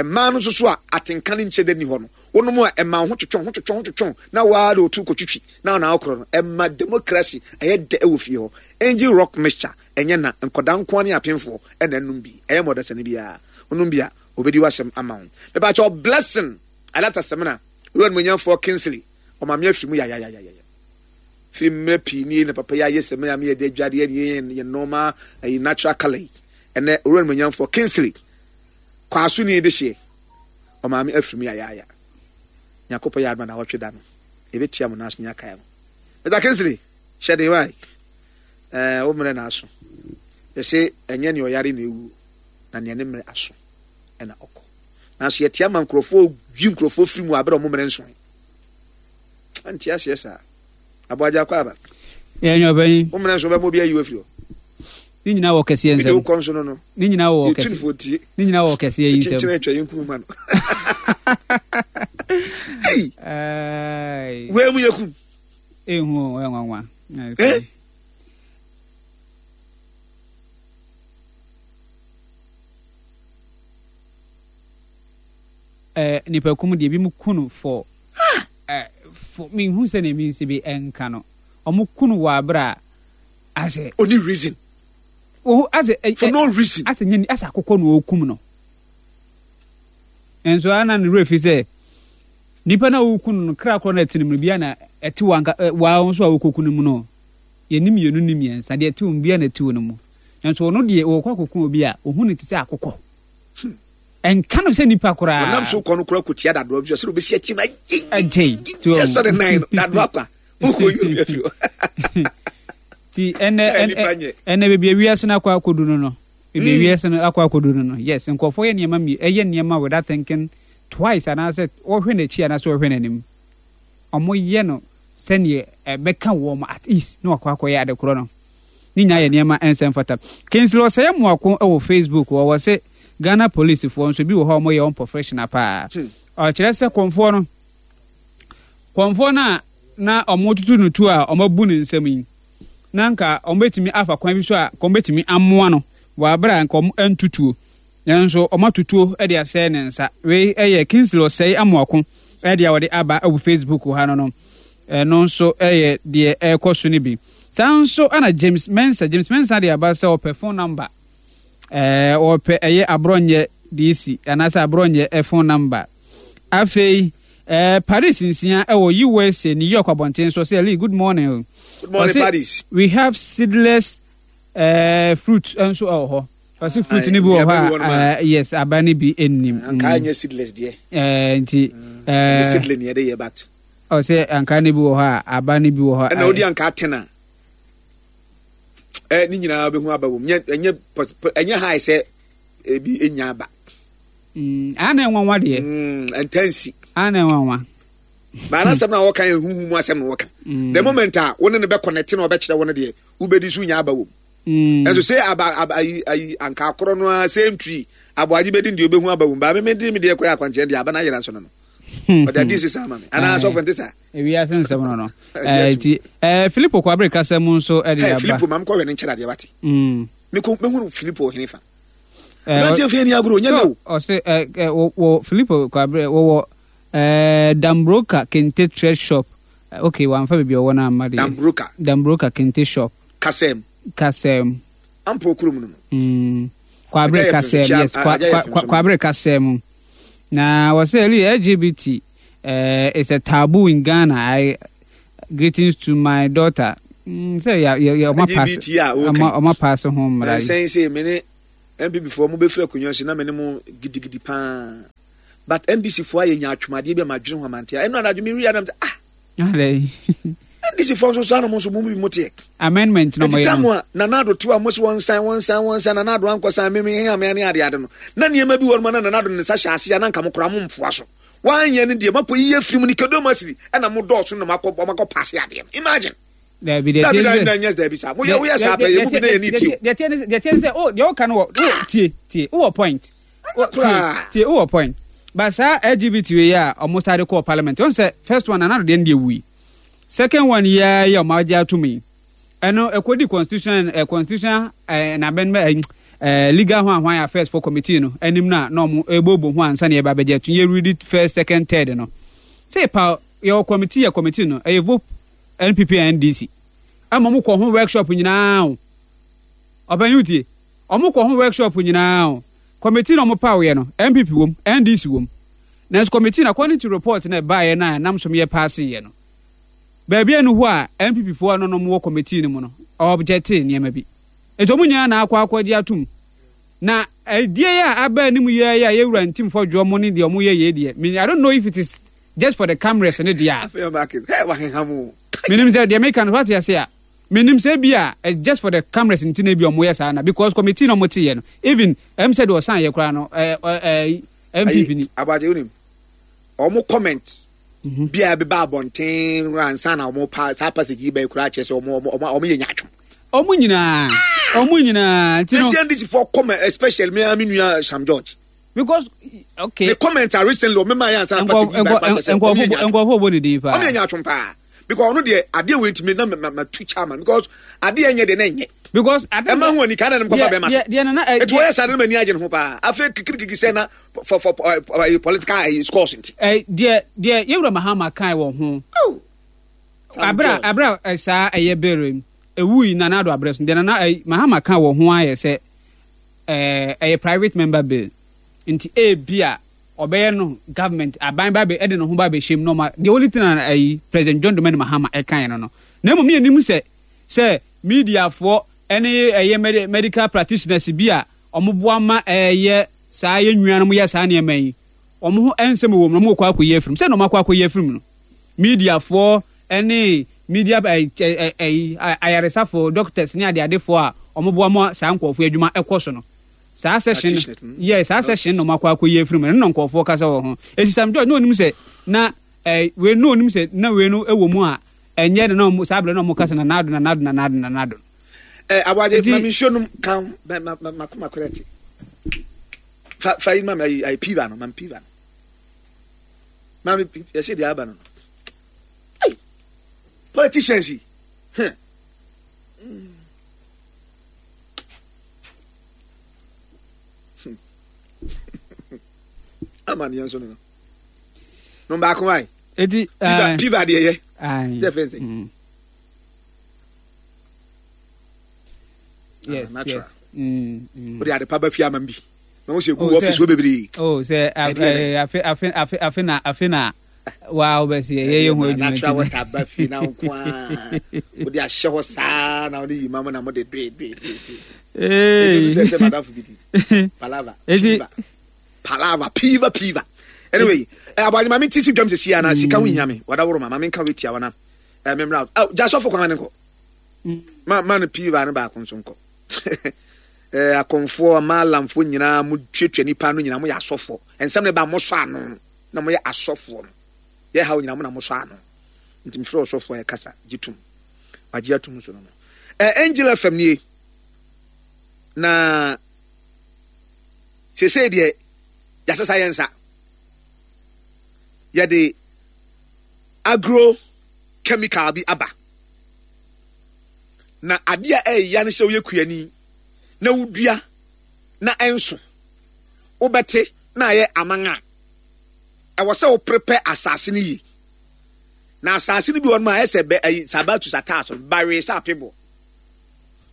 Mmaa no nso so a atenka no nkyɛ da nni hɔ no, wonom a ɛma wo ho twetwe ho twetwe ho twetwe na wo ara de wo to kɔtwitwi na wo na wokorɔ no. Ɛma democracy ɛyɛ dɛ wɔ fie hɔ. Angel Rock Mixture ɛnyɛ na, nkwadaa nko ara ne apemfoɔ na ɛnom bi. Ɛyɛ ma ɔdasani biara. Wonom bi a, ɔbɛdi w'asɛm ama wo. Mepakyɛw Blessing Alata Samina, Owura Animuonyamfoɔ Kingsley, ɔma me afiri mu yayayayaya. Firi mmerɛ pii nie na papa yi ayɛ samina ama yɛde adwadeɛ ne yɛn normal ɛyi natural colour yi. Ɛnɛ Owura Animuonyamfoɔ Kingsley Kwaso ni dehyeɛ ɔmaame afiri mu yayaaya Nyankopɔn yɛ adom a nawɔtwe da no yɛbɛtua mo naaso ne akae mo Mr. Kingsley hyɛ den wae ɛɛ wo mmerɛ na aso yɛse ɛnyɛ nea ɔyare na ɛwuo na nea ne mmerɛ aso ɛna ɔkɔ nanso yɛte ama nkurɔfoɔ yi nkurɔfoɔ firi mu abere ɔmo mmerɛ nsoe ɛnte aseɛ saa aboagye akɔ aba yɛnyɛ ɔbɛnyin wo mmerɛ nso bɛma obi ayi wo afiri hɔ Ne nyinaa wɔ kɛseɛ nsam. Mede wo kɔ nso no no. Ne nyinaa wɔ kɛseɛ. Ne nyinaa wɔ kɛseɛ yi nsam. Kyekyere atwa yɛn kum ma no. Ei. Wei mu yɛ kum. Ehu o, ɛyɛ nwanwa. Eh? Eh, nipa kum deɛ ebi mu ku no for eh, for mehu sɛ na ebi nsi bi ɛnka no. Ɔmo ku no wɔ abere a Asɛ. Oni reason. Ohu asɛ. Eh, For no reason. Asɛ nyɛ asɛ akokɔ na ɔrekum no. Nso ana ne werɛ fi sɛ nipa na ɔreku no no kra korɔ na ɛte ne mu no bia na ɛte wa nka wa nso a ɔrekɔku no mu no. Yɛni mmienu ni mmiɛnsa deɛ ɛte wɔn bia na ɛte wɔn mu. Nso ɔno deɛ ɔrekɔ akɔku obi a ohu no te sɛ akokɔ. Hmm. Ɛnka no sɛ nipa koraa. Ɔnam so kɔ no koraa kɔtia dadoa bi so sɛ ɔbɛsi akyi ma agyei. Sɛ ne nan no dadoa kwa. Ti ɛnɛ ɛnɛ baabi a wiase no akɔ akɔdu no no baabi a mm. wiase no akɔ akɔdu no no yes nkurɔfoɔ yɛ nneɛma mi ɛyɛ nneɛma without thinking twice anaasɛ wɔhwɛ n'akyi anaasɛ wɔhwɛ n'anim wɔyɛ no sɛdeɛ ɛbɛka wɔn at ease na wakɔ akɔyɛ adekorɔ no ne nyinaa yɛ nneɛma ɛnsɛ mfata Kingsley Ɔsɛe Mmoako wɔ Facebook wɔwɔ se Ghana policefoɔ nso bi wɔ hɔ a wɔyɛ wɔn professional paa hmm. ɔkyerɛ sɛ kɔnfoɔ no Kɔmfoɔ no a na wɔretoto no tuo a wɔabu ne nsam yi, na anka wɔbɛtumi afa kwan bi so a anka wɔbɛtumi amoa no wɔ aberɛ a anka wɔantu tuo. Nanso wɔato tuo de asɛe ne nsa. Wei yɛ Kingsley Osei Amoako deɛ a wɔde aba wɔ Facebook ha no no. Ɛno nso yɛ deɛ ɛrekɔ so no bi. Saa nso na James Mensah, James Mensah de aba sɛ ɔpɛ phone number. Ɛɛ ɔpɛ ɛyɛ aborɔnyɛ DC anaasɛ aborɔnyɛ phone number. Afei Eh, Paris nsia ɛwɔ USA, New York abɔnten so. Ɔsɛ, Lee, good morning o. Good morning, Ɔsɛ, Paris. We have seedless eh, fruit nso ɛwɔ hɔ. Ɔsɛ fruit no bi wɔ hɔ a, eh, yes, aba no bi nnim. Ankaa nyɛ seedless deɛ. Eh, nti, mm, eh, seedling yɛde yɛ but. Ɔsɛ ankaa no bi wɔ hɔ a, aba no bi wɔ hɔ. Ɛna wodi ankaa ten a, eh, ne nyinaa bɛhu aba wɔ mu. Ɛnyɛ, ɛnyɛ high sɛ ebi enya aba. Mm, ana nwanwa deɛ. Mm, ntansi. Ana nwanwa. Baa n'asɛm na wɔka yɛ huhu mu asɛm na wɔka. Mm. The moment a wo ne no bɛ connect na ɔbɛkyerɛ wo no deɛ wobɛdi so nya aba wɔ mu. Mm. Ɛnso sɛ aba aba ayi ayi anka akorɔ no ara same tree aboagye bɛdi deɛ ɔbɛhu aba wɔ mu. Baa me me de me deɛ kɔyɛ akwankyerɛ deɛ aba no ayera nso no no. Ɔde adi sesa ama me. Anaa asɔfo nte saa. Ewiase nsɛm no no. Ɛɛ ti ɛɛ Filipo Kwabere kasa mu nso ɛde aba. Filipo maame kɔhwɛ ne nkyɛn adeɛ wate. Mm. Mekɔ mehunu Filipo ɔhene fa. Aberanteɛ mfa ani agorɔ ɔnyɛ nɛ o. Ɔse wɔ Filipo Kwabrɛ wɔwɔ Dambroka Kente Thread Shop. Okay, wamfa baabi ɔwɔ no amma deɛ. Dambroka. Dambroka Kente Shop. Kasɛm. Kasɛm. Ampa okurom no no. Mm. Kwabrɛ Kasɛm, yes. Kwabrɛ Kasɛm. Na wɔsɛ Eli LGBT uh, is a taboo in Ghana. I greetings to my daughter. Mm, sɛ ya ya ya ɔma pass. LGBT a ɔma pass ho mmara yi. Sɛn sɛ mene. NPP foɔ mo bɛfiri akonnwa so na me ne mo gidigidi paa but NDC foɔ ayɛ nyaatwom adeɛ bi a madwene ho amante a ɛno anadwo me wia nam sɛ ah NDC foɔ nso saa na mo nso mo bi mo teɛ amendment na mo yɛ no a Nana Addo tew a mo se wɔn nsan wɔn nsan wɔn nsan Nana Addo ankɔ san meme he amea ne ade ade no na nneɛma bi wɔ no ma na Nana Addo ne nsa hyɛ ase a na nka mo koraa mo mfoa so wanyɛ no deɛ makɔ yiye firi mu ne kedom asiri ɛna mo dɔɔso na makɔ makɔ paase adeɛ no imagine Dabi deɛ tie sɛ dabi dabi saa mo yɛ woyɛ saa pɛ yɛ mu bi na yɛ ni tie. Deɛ tie deɛ tie sɛ o deɛ ɔka no wɔ o tie tie wowɔ point. Tie tie wowɔ point. But saa LGBT wei a ɔmo saa de kɔɔ parliament wɔn sɛ first one Nana Addo deɛ no deɛ wui. Second one yi ara yi a ɔmo agye atum yi ɛno ɛkɔdi constitution ɛ constitution ɛ na amendment ɛ legal ho ahwan affairs for committee no anim no a na ɔmo ɛbɔbɔ ho ansa na yɛba abɛgye atum yɛ read first second third no. Sɛ pa yɛwɔ committee yɛ committee no ɛyɛ vote NPP and NDC ɛma ɔmo kɔ ho workshop nyinaa o. Ɔpanyin wotie? Ɔmo kɔ ho workshop nyinaa o. Committee na ɔmo paw yɛ no, NPP wom, NDC wom. Nanso committee no according to report na ɛbaeɛ no a ɛnam so yɛ paase yɛ no, baabi ɛnu hɔ a NPP foɔ a na ɔmo wɔ committee no mu no, ɔobjectee nneɛma bi. Nti ɔmo nyinaa na akɔ akɔgye atum. Na ɛdeɛ yi a aba anim yi ara yi a yɛwura Ntim Fɔdwoɔ mo ne deɛ ɔmo yɛ yei deɛ, me I don't know if it is just for the cameras ne deɛ a. Afei ɔmo ake hɛ waheha mu. Menim sɛ deɛ meka no wate ase a. Menim sɛ ebi a it's just for the cameras nti na ebi a ɔmo yɛ saa na because committee na ɔmo te yɛ no even ɛm sɛ deɛ ɔsan yɛ koraa no ɛɛ ɛɛ NPP ni. Abagye wonim ɔmo comment bi a ɛbɛba abɔnten ansa na ɔmo pa saa passage yi bɛyɛ koraa kyerɛ sɛ ɔmo ɔmo ɔmo yɛ nyaatwom. Ɔmo nyinaa ɔmo nyinaa nti no. Asian DC for comment especially me me nua Sam George. Because okay. The comment are recently ɔmo maa yɛ ansa na passage yi bɛyɛ koraa kyerɛ sɛ ɔmo yɛ nyaatwom. Nkɔfo bɔ ne din paa. Ɔmo yɛ nyaatwom paa because ɔno deɛ adeɛ wei ntumi na ma ma tu chairman because adeɛ nyɛ deɛ na nyɛ. Because ɛma ho ani kan na ne nkɔfa bɛma to. Deɛ nana ɛ. Etu wɔyɛ saa de na ma ani agye ne ho paa afei kikirikiki sɛ na for for political scores nti. Ɛ deɛ deɛ yɛwura Mahama kan wɔ ho. Oh. Abira abira saa ɛyɛ bere ewu yi Nana Addo abrɛ so deɛ Nana ɛ Mahama kan wɔ ho ayɛ sɛ ɛɛ ɛyɛ private member bill nti ebi a ɔbɛyɛ no government aban ba bɛ ɛde ne ho ba bɛhyɛ mu na ɔma the only thing a ɛyi President John Dramani Mahama ɛkan no no na mmom yɛnim sɛ sɛ mediafoɔ ɛne ɛyɛ medical practitioners bi a wɔboa ma ɛyɛ saa yɛn nuanom yɛ saa nneɛma yi wɔn ho nsɛm wɔ mu na wɔkɔ akɔyi afirim sɛ na wɔn akɔ akɔyi afirim no mediafoɔ ɛne media ɛyi ayaresafoɔ doctors ne adeadefoɔ a wɔboa ma saa nkurɔfoɔ adwuma ɛkɔ so no saa session yɛ saa session na wɔn akɔ akɔyi afirim no na nkurɔfoɔ kasa wɔ ho esi Sam George na onim sɛ na ɛɛ wei na onim sɛ na wei no ɛwɔ mu a ɛnyɛ na wɔn saa abirɛ na wɔn kasa na n'ado na n'ado na n'ado na n'ado. Ɛ aboagye ma mi nsuo nom kan ma ma ma ma kora ti fa fa yi ma mi ayi ayi piva no ma mi piva no ma mi yɛsɛ deɛ aba no no politicians yi hɛn. Ama ne yɛn nso no no baako ayi. Eti piva piva deɛ yɛ. Deɛ fɛn sɛ. Yes, natural. Yes. Wode ade pa ba fie ama m bi. Na wo sɛ gu office hɔ bebree. Oh, sɛ afe afe afe afe na afe na wa wobɛsi yɛ yɛ ho adwuma natural water ba fie na nko a wode ahyɛ hɔ saa na wode yi ma mo na mode doe doe doe. Ee. Sɛ sɛ madamfo bi di. Palava. Piva. Palava piva piva. Anyway, eh, aboagye ma me ti si dwam sɛ sia na sika ho hia me. Wadaworo ma ma menka wetia wana. Eh, memra. Oh, gya sɔfo kwan ne nkɔ. Ma ma no piva no baako nso nkɔ. Eh, akɔmfoɔ, maalamfoɔ nyinaa mo tuatua nipa no nyinaa mo yɛ asɔfoɔ. Nsɛm no ba mo sɔ ano na mo yɛ asɔfoɔ no. Yɛ haw nyinaa mo na mo sɔ ano. Nti mefrɛ ɔsɔfoɔ a ɛkasa gye tum. Wagye atum nso no no. Eh, Angel FM nie. Na sesei deɛ yɛasesa yɛn nsa. Yɛde agro chemical bi aba. Na adeɛ a ɛyɛ ne sɛ woyɛ kuani na wodua na ɛnso wobɛte na ayɛ aman a ɛwɔ sɛ woprepɛ asase no yie. Na asase no bi wɔ no a ɛsɛ bɛ ayi sabatus ataas no bawee sɛ apeboɔ.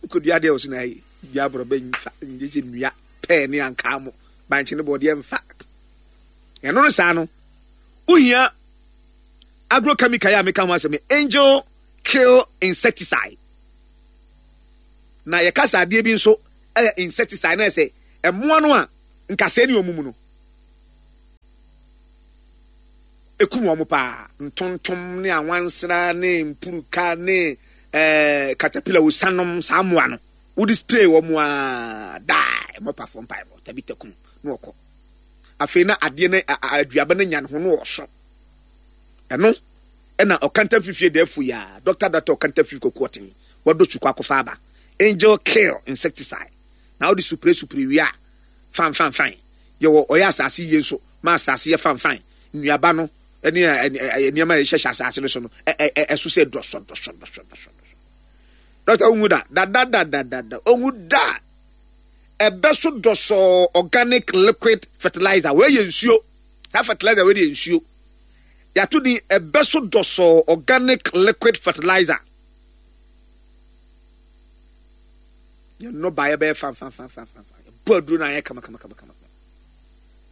Wokɔdua adeɛ wɔ so na ayi dua aborɔbɛ nfa nyɛ sɛ nnua pɛɛ ne ankaa mo bankye ne bɔɔdeɛ mfa. Ɛno no saa no wohia agrochemical yi a meka ho asɛm angel kill insecticide. Na yɛka sɛ adeɛ bi nso yɛ insecticide na ɛsɛ. Mmoa no a nkasɛɛ ne wɔn mu no, ekum wɔn paa. Ntontom ne anwansena ne mpuruka ne ɛɛ katapila osanom saa mmoa no, wode spray wɔn a daa mmɔpafoɔ mpaebɔ tabita kum na wɔkɔ. Afei na adeɛ no aduaba no nya ne ho no ɔso. Ɛno ɛna ɔkanta fifie da afu ya dɔkta dɔkta ɔkanta fifi kɔku ɔten wɔdɔ sukɔ akɔfa aba angel kill insecticide na wode supre supre wie a fan fan fan yɛwɔ ɔyɛ asase yie nso ma asase yɛ fan fan nnuaba no ɛne nneɛma a yɛhyehyɛ asase no so no ɛso sɛ dɔsɔ dɔsɔ dɔsɔ dɔsɔ dɔkta onwu da da da da da da da onwu da ɛbɛ so dɔsɔ organic liquid fertilizer wei yɛ nsuo saa fertilizer wei yɛ nsuo yɛato din ɛbɛ so dɔsɔ organic liquid fertilizer yɛn nnɔbaeɛ bɛyɛ fanfanfanfanfa yɛbɔ aduro no ayɛ kama kama kama kama.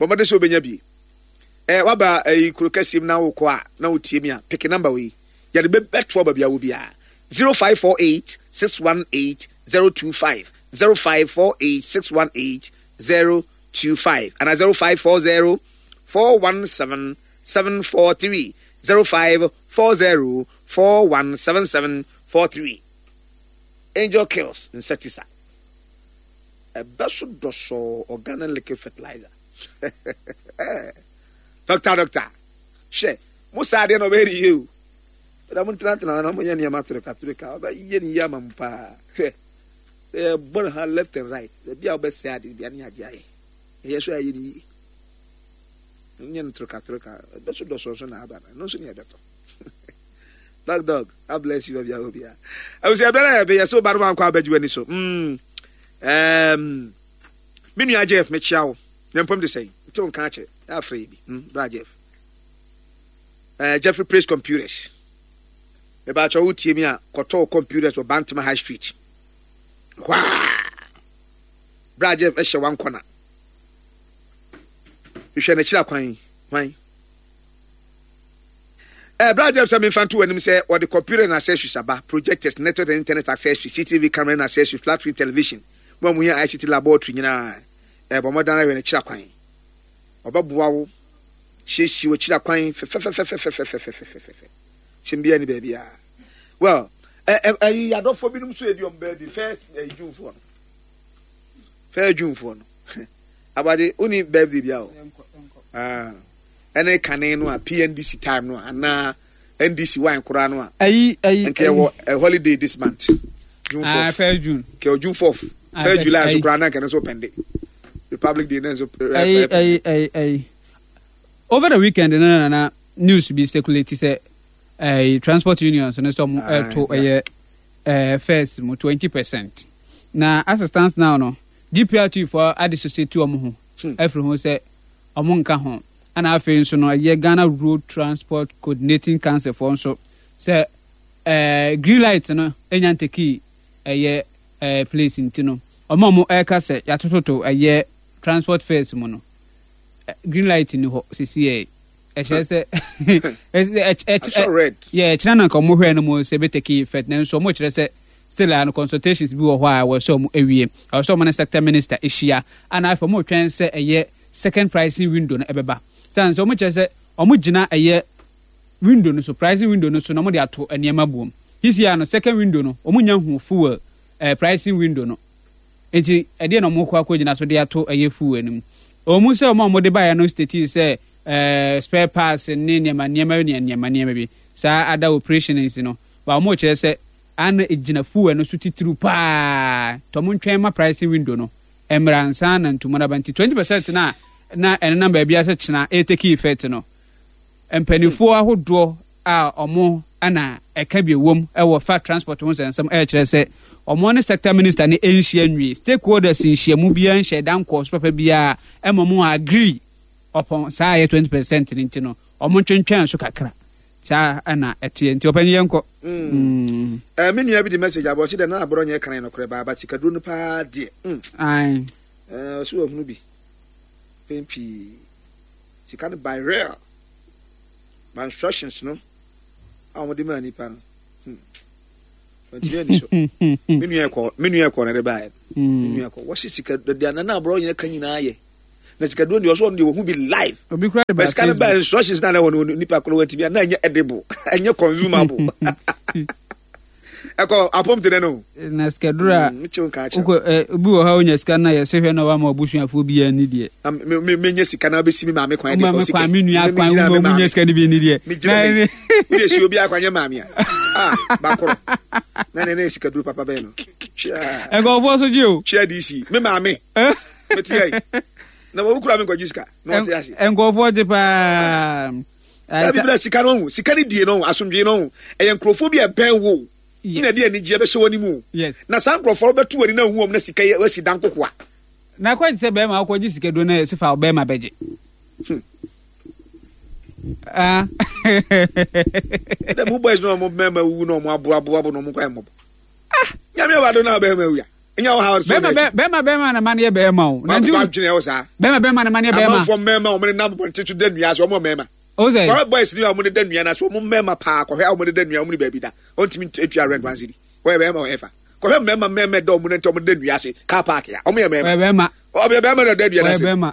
Bɔ mmɔden sɛ wobɛnya bi. Ɛɛ waba ɛyi kuro kɛseɛ mu na wokɔ a na wotie mi a peke namba wei yɛde bɛtoa baabi a wɔ biara 0548 618 025 0548 618 025 ana 0540 417 743 0540 417743. Angel Kills insecticide ɛbɛ so dɔsɔɔ organic liquid fertilizer. Doctor doctor hwɛ mo saa adeɛ na ɔbɛyɛ ne yie o ɛna mo ntenatena na mo yɛ nneɛma toreka toreka ɔbɛyɛ ne yie ama mo paa. Hwɛ ɛyɛ bɔ ne ha left and right ebi a ɔbɛsɛ ade bi ne agye ayɛ ɛyɛ so ayɛ ne yie nyɛ no toreka toreka ɛbɛ so dɔsɔɔ so na aba no ɛno nso ne ɛbɛtɔ. Dog dog, God bless you, Obia Obia. Abusua bɛrɛ yɛ bɛyɛ so ba no wankɔ abɛgye w'ani so. Me nua Jeff mekyia wo. Na mpom de sɛn? Nte wo nka akyɛ. Afrɛ yi bi. Bra Jeff. Jeffrey Praise Computers. Meba kyɛ wo tie mi a kɔtɔ computers wɔ Bantama High Street. Hwaa. Bra Jeff ɛhyɛ wankɔna. Hwehwɛ n'akyiri akwan. Hwan? Eh, bra Jeff sɛ memfa nto w'anim sɛ wɔde computer and accessories aba, projectors, network and internet accessories, CCTV camera and accessories, flat screen television, mo a mohia ICT laboratory nyinaa, eh, bɔ mmɔden ara hwɛ n'akyiri akwan. Ɔbɛboa wo siesie w'akyiri akwan fɛfɛfɛfɛfɛfɛfɛfɛfɛfɛ. Hyɛm biara ni baabiara. Well, eh, eh, eh, adɔfoɔ binom nso edi wɔn baabi first eh, Junefoɔ no. First Junefoɔ no. Abade, woni birthday bia o? Ah. Ɛne kane no a PNDC time no a anaa NDC wine koraa no a. Ayi ayi. Nka ɛwɔ a holiday this month. June 4th. Ah, first June. Nka June 4th. Ah, first July nso koraa na nka no nso pɛnde. Republic Day na nso. Ayi ayi ayi ayi. Over the weekend no na na news bi circulate sɛ ɛɛ transport unions no sɛ ɔmo ɛto ɛyɛ ɛɛ fares mu 20%. Na as it stands now no GPRT foɔ adissociate wɔn ho afiri ho sɛ wɔn nka ho. Ɛna afei nso no ɛyɛ Ghana Road Transport Coordinating Council foɔ nso sɛ ɛɛ green light no nya ntekii ɛyɛ ɛɛ place nti no wɔn a wɔn ɛreka sɛ yɛatototo ɛyɛ transport fares mu no green light ni hɔ sisi yɛ ɛkyerɛ sɛ yɛ ɛkyerɛ na nka wɔn hwɛ no mu sɛ ɛbɛ take effect nanso wɔn kyerɛ sɛ Still a no consultations bi wɔ hɔ a ɛwɔ sɛ wɔn awie. Ɛwɔ sɛ wɔn ne sector minister ahyia. Ɛna afei wɔn retwɛn sɛ ɛyɛ second pricing window no ɛbɛba. Sane sɛ wɔn kyerɛ sɛ wɔn gyina ɛyɛ window no so, pricing window no so na wɔn de ato nneɛma buom. Sisi a no second window no wɔn nya hu fuel eh, pricing window no. Nti ɛdeɛ na wɔn kɔ akɔ gyina so de ato ɛyɛ fuel no mu. Wɔn mu sɛ wɔn a wɔn de baeɛ no state sɛ eh, spare parts ne nneɛma nneɛma ne nneɛma nneɛma bi. Saa ada operations no. Ba wɔn kyerɛ sɛ a na egyina fuel no so titiriw paa nti ɔmo ntwɛn ma pricing window no mmra ansa na ntumu no aba. Nti 20% no a na ɛnenam baabiara sɛ kyena ɛretake effect no, mpanimfoɔ ahodoɔ a ɔmo na ɛka bi ɛwom wɔ fa transport ho nsɛnsɛm ɛrekyerɛ sɛ ɔmo ne sector minister no nhyia nwie. Stakeholders nhyiamu biara nhyɛ da nkɔɔ so papa biara ɛma ɔmo agree upon saa ɛyɛ 20% no nti no ɔmo ntwentwɛn so kakra. Saa na ɛteɛ nti ɔpanyin yɛn kɔ. Mm. Eh, me nua bi de message abɔ ɔsi dɛ na aborɔ nyɛ kan nokorɛ baa but sikaduro no paa deɛ. Ae. Eh, ɔsi wɔ hunu bi. Pɛn pii. Sika no by real. By instructions no a wɔde maa nipa no. Hmm. Ntumi ani so. Me nua ɛkɔ, me nua ɛkɔ na ɛde baeɛ. Me nua ɛkɔ. Wɔsi sika deɛ nana aborɔ nyina ka nyinaa yɛ. Na sika duro deɛ ɔsɔ ɔno deɛ wɔhu bi live. Obi kura de ba sika no ba instructions na na ɛwɔ no nipa koro wɔntumi a na ɛnyɛ edible, ɛnyɛ consumable. Ɛkɔ apɔm te dɛ no. Na sika duro a wokɔ ɛ obi wɔ hɔ a onya sika na yɛsɛ hwɛ na wama abusuafoɔ bi ani deɛ. Na me me menya sika na abɛsi me maame kwan deɛ fɔ sika. Maame kwan me nua kwan wo ma nya sika no bi ni deɛ. Me gyina hɔ wo de si obi akwan nyɛ maame a. Ah bakoro. Na ne ne sika duro papa bɛn no. Twia. Nkɔfoɔ so gye o. Twia DC me maame. Me te yɛ. Na wɔn kura me nkɔgye sika na wɔte ase. Nkɔfoɔ gye paa. Dabi bra sika no ho sika no die no ho asomdwee no ho ɛyɛ nkurɔfoɔ bi a ɛbɛn wo na ɛde anigyeɛ bɛhyɛ wɔn mu na saa nkurɔfoɔ bɛto wɔn ani na hu wɔn na sika yɛ wasi dan kokoa. Na kɔ sɛ bɛrima akɔgye sika duro na yɛsi fa bɛrima bɛgye. Ah. Dɛ mo boys na ɔmo bɛrima wuwu na ɔmo aboaboa na ɔmo kɔ ɛmɔbɔ. Ah nyame wa do na bɛrima wuya. Nya wo ha so bɛrima bɛrima bɛrima na ma no yɛ bɛrima o. Na nti adwene ɛwɔ saa. Bɛrima bɛrima na ma no yɛ bɛrima. Amanfoɔ mmarima wɔn nenam bɔnten so da nnua ase wɔn mmarima. O sɛ. Kɔhwɛ boys ni a wɔn da nnua no ase wɔn mmarima paa kɔhwɛ a wɔn da nnua wɔn ni baabi da wɔn ntumi ntua rent one cedi wɔyɛ bɛrima wɔyɛ fa kɔhwɛ mmarima mmarima da wɔn nante wɔn da nnua ase car park ya wɔn yɛ mmarima. Wɔyɛ bɛrima. Ɔbɛ bɛrima na da nnua no ase. Wɔyɛ bɛrima.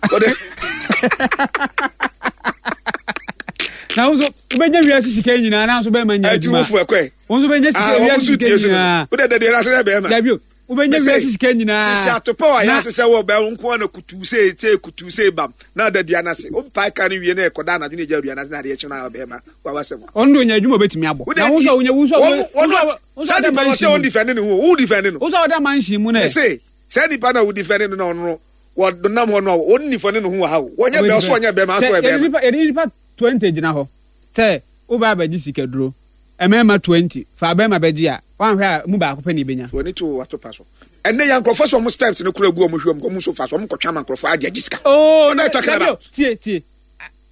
Na wo nso wobɛnya wiase sika nyinaa nanso bɛrima nya adwuma. Ɛti wo fo ɛkɔɛ. Wo nso bɛnya sika wiase sika nyinaa. Wode da nnua no ase yɛ bɛrima. Dabi o. Wobɛnya wiase sika nyinaa. Hyehyɛ atopɔ a yɛase sɛ wɔ bɛn nko na kutu sɛ sɛ kutu sɛ bam na da dua no ase. Wompae ka no wie na ɛkɔda anadwo na ɛgya dua no ase na adeɛ kye no a bɛrima wawasɛm. Ɔno de onya adwuma obɛtumi abɔ. Na wo nso wonya wo nso saa nipa no ɔsɛ wɔn defend ne ho wo defend no. Wo nso ɔda mansion mu na. Ɛsɛ saa nipa na wo defend no na ɔno no wɔnam hɔ no a wɔn nifa ne ne ho wɔ ha o. Wɔnyɛ bɛrima ɔso ɔnyɛ bɛrima aso ɔyɛ bɛrima. Yɛde nipa 20 gyina hɔ sɛ wobɛ abɛgye sikaduro mmarima 20 fa bɛrima bɛgye a wanhwɛ a mu baako pɛ na ebenya. W'ani to w'atopa so. Ɛnɛ yɛ nkurɔfoɔ sɛ wɔn sperms no kura gu wɔn hwɛ wɔn nso fa so wɔn kɔtwe ama nkurɔfoɔ agye agye sika. Oh, na dabi o tie tie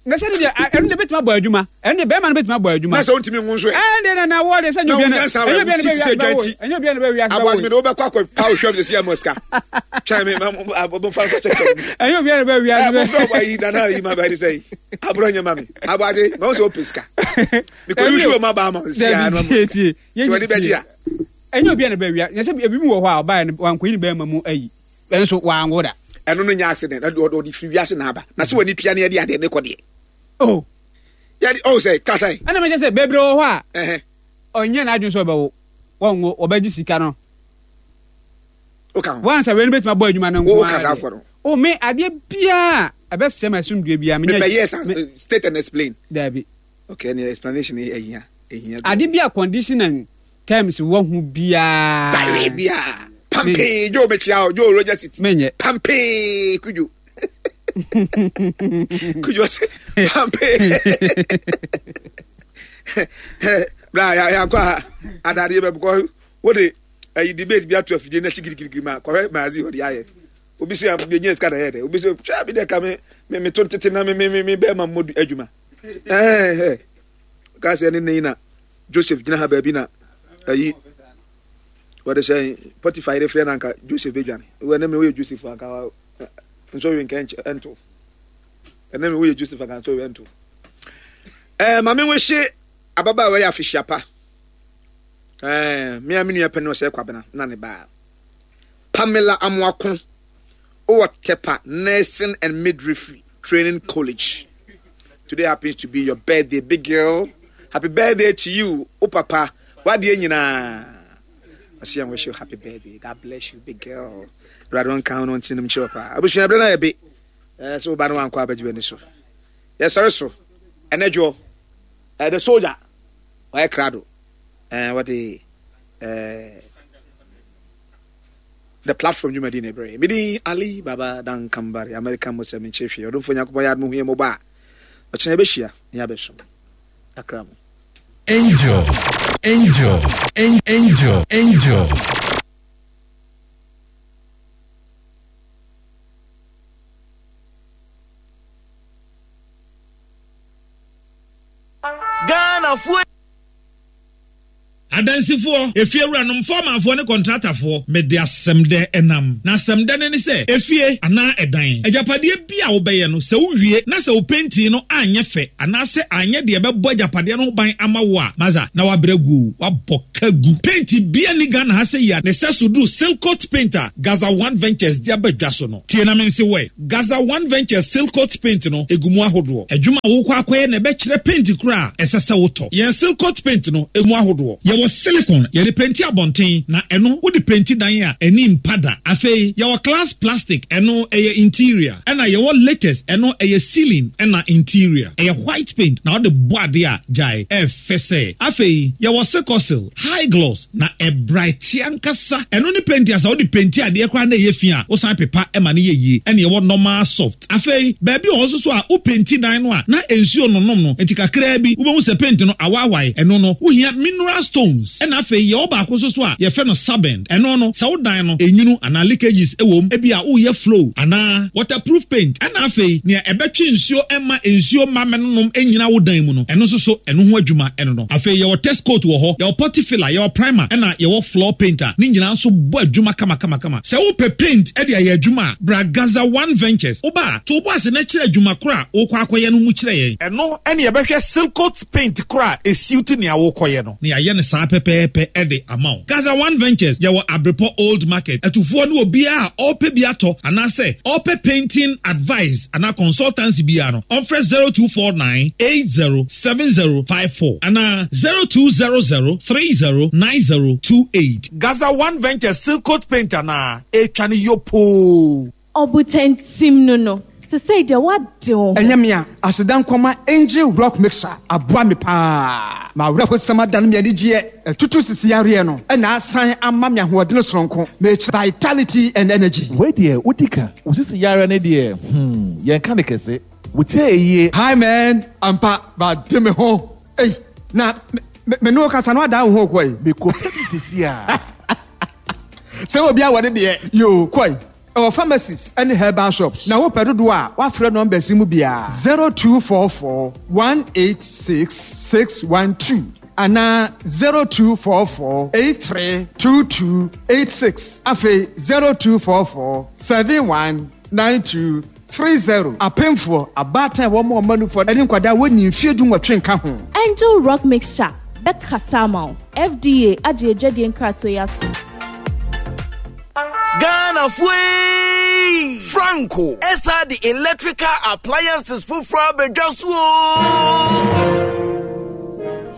na sɛ ne deɛ ɛno deɛ bɛtumi abɔ adwuma ɛno deɛ bɛrima no bɛtumi abɔ adwuma. Na sɛ wontumi nwo nso ɛ. Ɛn deɛ na na wɔ deɛ sɛ nyɛ obiara na ɛnyɛ obiara na bɛ wiase bɛ wo ɛnyɛ obiara na bɛ wiase bɛ wo. Aboagye mi de wobɛkɔ akɔ pa ohwɛ mi sɛ ama sika twɛn mi ma mo fa nkɔ kyɛkyɛ. Ɛnyɛ obiara na bɛ wiase bɛ. Ɛ mo fɛ ɔbɔ ayi nana ayi ma bɛ de sɛ yi aburɔ nyɛ ma mi aboagye ma wo sɛ o pɛ sika. Mekɔyi hwɛ ɔma baa ma nsi a na tie tie yɛnyɛ tie ɛnyɛ obi a na bɛwia nyɛ sɛ ebi mu wɔ hɔ a ɔbaeɛ no wankɔyi ne bɛrima mu ayi ɛnso wanwo da. Ɛno no nyɛ accident ɛde ɔde firi wiase na aba na sɛ w'ani tua ne ɛde adeɛ ne kɔ deɛ. Oh. Yɛde oh sɛ kasa yi. Ɛna mekyɛ sɛ bebree wɔ hɔ a ɔnyɛ n'adwene sɛ ɔbɛwo wɔnwo wɔbɛgye sika no. Woka ho. Wansa wei no bɛtumi abɔ adwuma no nko ara. Woka saa afɔ no. O me adeɛ biara ɛbɛsɛm asomdue biara menyɛ. Mepɛ yes state and explain. Daabi. Okay, any explanation ehia ehia. Ade bi a condition and terms wɔ ho biara. Bare biara. Pampee Joe mekyia o Joe Roger City. Menyɛ. Pampee Kujo. Kujo se pampee. Bra ya ya kwa adade be because wo de ayi debate bi ato afidie na chigirigirigiri ma kɔhwɛ maazi hɔ de ayɛ. Obi so ya nye sika na yɛ dɛ. Obi so hwɛ bi de ka me me me to ntete na me me me bɛɛ ma mmɔ adwuma. Ɛɛ ka sɛ ne ne na Joseph gyina ha baabi na ayi wɔde sɛ Potiphar yere frɛ no anka Joseph bɛdwane. Wɔ ne me woyɛ Joseph anka nso we nka ɛnto. Ɛne me woyɛ Joseph anka nso we ɛnto. Ɛɛ maame wo hye ababaawa yɛ afehyia pa. Ɛɛ me a me nua pɛ ne ɔsɛ kwabena na ne baa. Pamela Amoako wɔ Tepa Nursing and Midwifery Training College. Today happens to be your birthday, big girl. Happy birthday to you, o papa. Wadeɛ nyinaa. Ɔsi yɛn wish you happy birthday. God bless you, big girl. Awurade ɔnka ho no ɔntene nom kyerɛ paa. Abusua berɛ no ayɛ be. Ɛɛ sɛ woba no wankɔ abɛgye w'ani so. Yɛsɔre so. Ɛnɛ dwoɔ. Ɛɛ the soldier. Ɔyɛ krado. Ɛɛ wɔde ɛɛ The Platform dwumadi na ɛbrɛ. Me din Ali Baba Dan Kambari, American Muslim menkyerɛ hwee. Ɔdomfo Nyankopɔn yɛ adom hu yɛn mmɔbɔ a, ɔkyena yɛbɛhyia na yɛabɛsom. Akra mu. Angel, angel, angel, angel. Ghana foɔ. Adansifoɔ, efiewuranom, fɔɔmanfoɔ ne kɔntratafoɔ, mede asɛmdɛ nam. Na asɛmdɛ no ne sɛ, efie anaa ɛdan, agyapadeɛ bi a wobɛyɛ no, sɛ wowie na sɛ wo pentin no anyɛ fɛ anaasɛ anyɛ deɛ ɛbɛbɔ agyapadeɛ no ho ban ama wo a, masa, na woabrɛ agu o, woabɔ ka gu. Penti biara nni Ghana ha sɛ yi a ne sɛso duru Silcoat Paint a Gaza One Ventures de aba dwa so no. Tie na mense wo ɛ. Gaza One Ventures Silcoat Paint no, egu mu ahodoɔ. Adwuma a worekɔ akɔyɛ na ɛbɛkyerɛ paint koro a ɛsɛ sɛ wotɔ. Yɛn Silcoat Paint no, egu mu ahodoɔ. Yɛwɔ silicone, yɛde penti abɔnten, na ɛno wode penti dan a, ani mpa da. Afei, yɛwɔ glass plastic, ɛno ɛyɛ interior. Ɛna yɛwɔ latex, ɛno ɛyɛ ceiling ɛna interior. Ɛyɛ white paint na wode bɔ adeɛ a, gyae, ɛyɛ fɛ sɛ. Afei, yɛwɔ Silcosil, high gloss. Na ɛbraete ankasa. Ɛno ne penti a sɛ wode penti adeɛ koraa na ɛyɛ fi a, wosan pepa ma no yɛ yie. Ɛna ɛwɔ normal soft. Afei, baabi wɔ hɔ nso so a, wopenti dan no a, na nsuo nnonom no, nti kakraa bi wobɛhu sɛ penti no awaawae. Ɛno no, wohia mineral stones. Ɛna afei, yɛwɔ baako nso so a yɛfrɛ no sabend. Ɛno no, sɛ wo dan no, enwunu anaa leakages wɔ mu, ebia woreyɛ flow anaa waterproof paint. Ɛna afei, nea ɛbɛtwe nsuo mma nsuo mma mmɛnonom nnyina wo dan mu no, ɛno nso so, ɛno ho adwuma ɛno no. Afei yɛwɔ test coat wɔ hɔ, yɛwɔ putty filler, yɛwɔ primer, ɛna yɛwɔ floor paint a ne nyinaa nso bɔ adwuma kamakamakama. Sɛ wopɛ paint de ayɛ adwuma a, bra Gaza One Ventures. Woba a, to wo bo ase na kyerɛ adwuma koro a worekɔ akɔyɛ no mu kyerɛ yɛn. Ɛno ne yɛbɛhwɛ Silcoat paint koro a ɛsiwte nea worekɔyɛ no. Na yɛayɛ no saa pɛpɛɛpɛ de ama wo. Gaza One Ventures, yɛwɔ Abrepɔ Old Market. Atufoɔ ne obiara a ɔrepɛ bi atɔ anaasɛ ɔrepɛ painting advice anaa consultancy biara no, ɔmfrɛ 0249 80 7054 anaa 0200 30 9028. Gaza One Ventures Silcoat Paint anaa? Etwa no yopoo. Ɔbotantim no no, sesei deɛ woade wo ho. Ɛnyɛ me a, aseda nkɔma Angel Rock Mixer aboa me paa. M'awerɛhosɛm adane me anigyeɛ, atutu sisi yareɛ no na asan ama me ahoɔdene sononko, mekyerɛ vitality and energy. Wei deɛ wodi ka. Wo sisi yareɛ no deɛ hmm yɛnka no kɛse. Wo tie yie. Hi man, ampa made me ho ei na me ne wo kasa no adan wo ho kɔ ei. Me kɔ pɛ bi sisi a. Sɛ obi awɔ ne deɛ yoo kɔ ei. Ɛwɔ pharmacies ne herbal shops na wopɛ dodoɔ a wafrɛ numbers yi mu biara 0244 186 612 anaa 0244 83 22 86 afei 0244 71 92 30, Apemfoɔ, abaatan a wɔma wɔn mma nufoɔ ne nkwadaa a wɔnnii mfeɛ dunwɔtwe nka ho. Angel Rock Mixture bɛkasa ama wo. FDA agye adwadie nkratoɔ yi atom. Ghanafoɔ eii! Franco ɛsan de electrical appliances foforɔ abɛdwa so oo!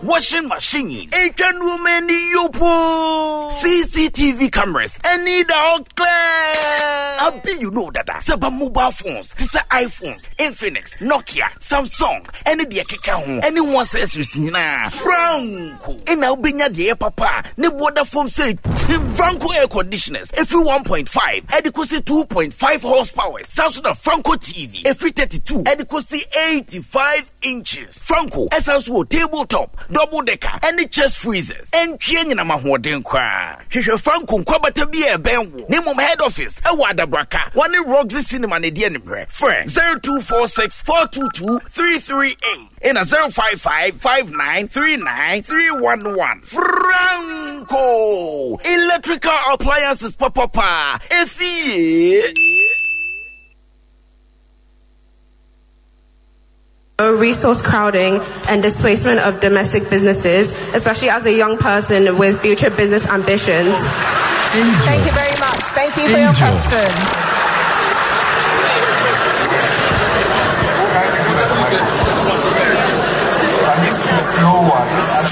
Washing machines, etwa nneɛma ani yopoo, CCTV cameras, ɛne da hɔ clear. Abi you know dada sɛ ba mobile phones te sɛ iPhones, Infinix, Nokia, Samsung, ɛne deɛ ɛkeka ho ɛne ho accessories nyinaa. Franco ɛna wobɛnya deɛ ɛyɛ papa a ne boɔ da fam sɛ tim. Franco air conditioners ɛfiri 1.5 ɛde kɔsi 2.5 horsepower. Saa nso na Franco TV ɛfiri 32 ɛde kɔsi 85 inches. Franco ɛsan so wɔ table top, double decker ɛne chest freezers. Ɛntwe anyinam ahoɔden koraa. Hwehwɛ Franco nkwabata bi a ɛbɛn wo. Ne mmom head office ɛwɔ Adabraka. Wɔne Roxy Cinema na ɛdi animhwɛ. Frɛ 0246 422 338 ɛna 055 5939 311. Franco Electrical Appliances papapa efie. Resource crowding and displacement of domestic businesses, especially as a young person with future business ambitions. Angel. Thank you very much. Thank you for your question.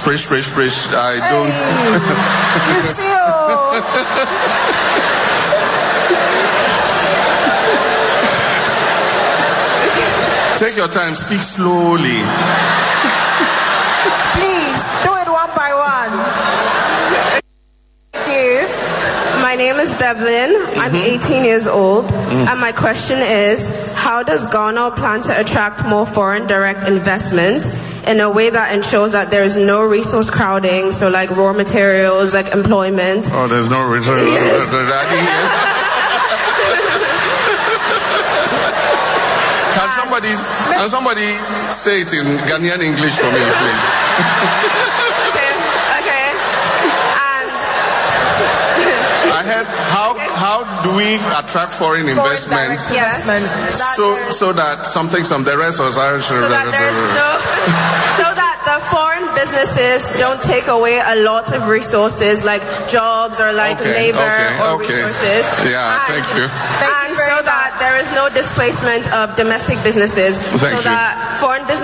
Sprish, sprish, sprish. I don't. You see, oh. Take your time, speak slowly. Please, do it one by one. Thank you. My name is Bevelyn. I'm 18 years old. And my question is, how does Ghana plan to attract more foreign direct investment in a way that ensures that there is no resource crowding, so like raw materials, like employment? Oh, there's no resource. Yes. Can somebody say it in Ghanaian English for me, please? Okay, okay. How do we attract foreign, Foreign investment? direct investment. So so that something some the rest was So that there's no, so that the foreign businesses don't take away a lot of resources like jobs or like Okay, labor okay, or okay. resources. Yeah, thank you. and so that there is no displacement of domestic businesses. Thank so you. that foreign businesses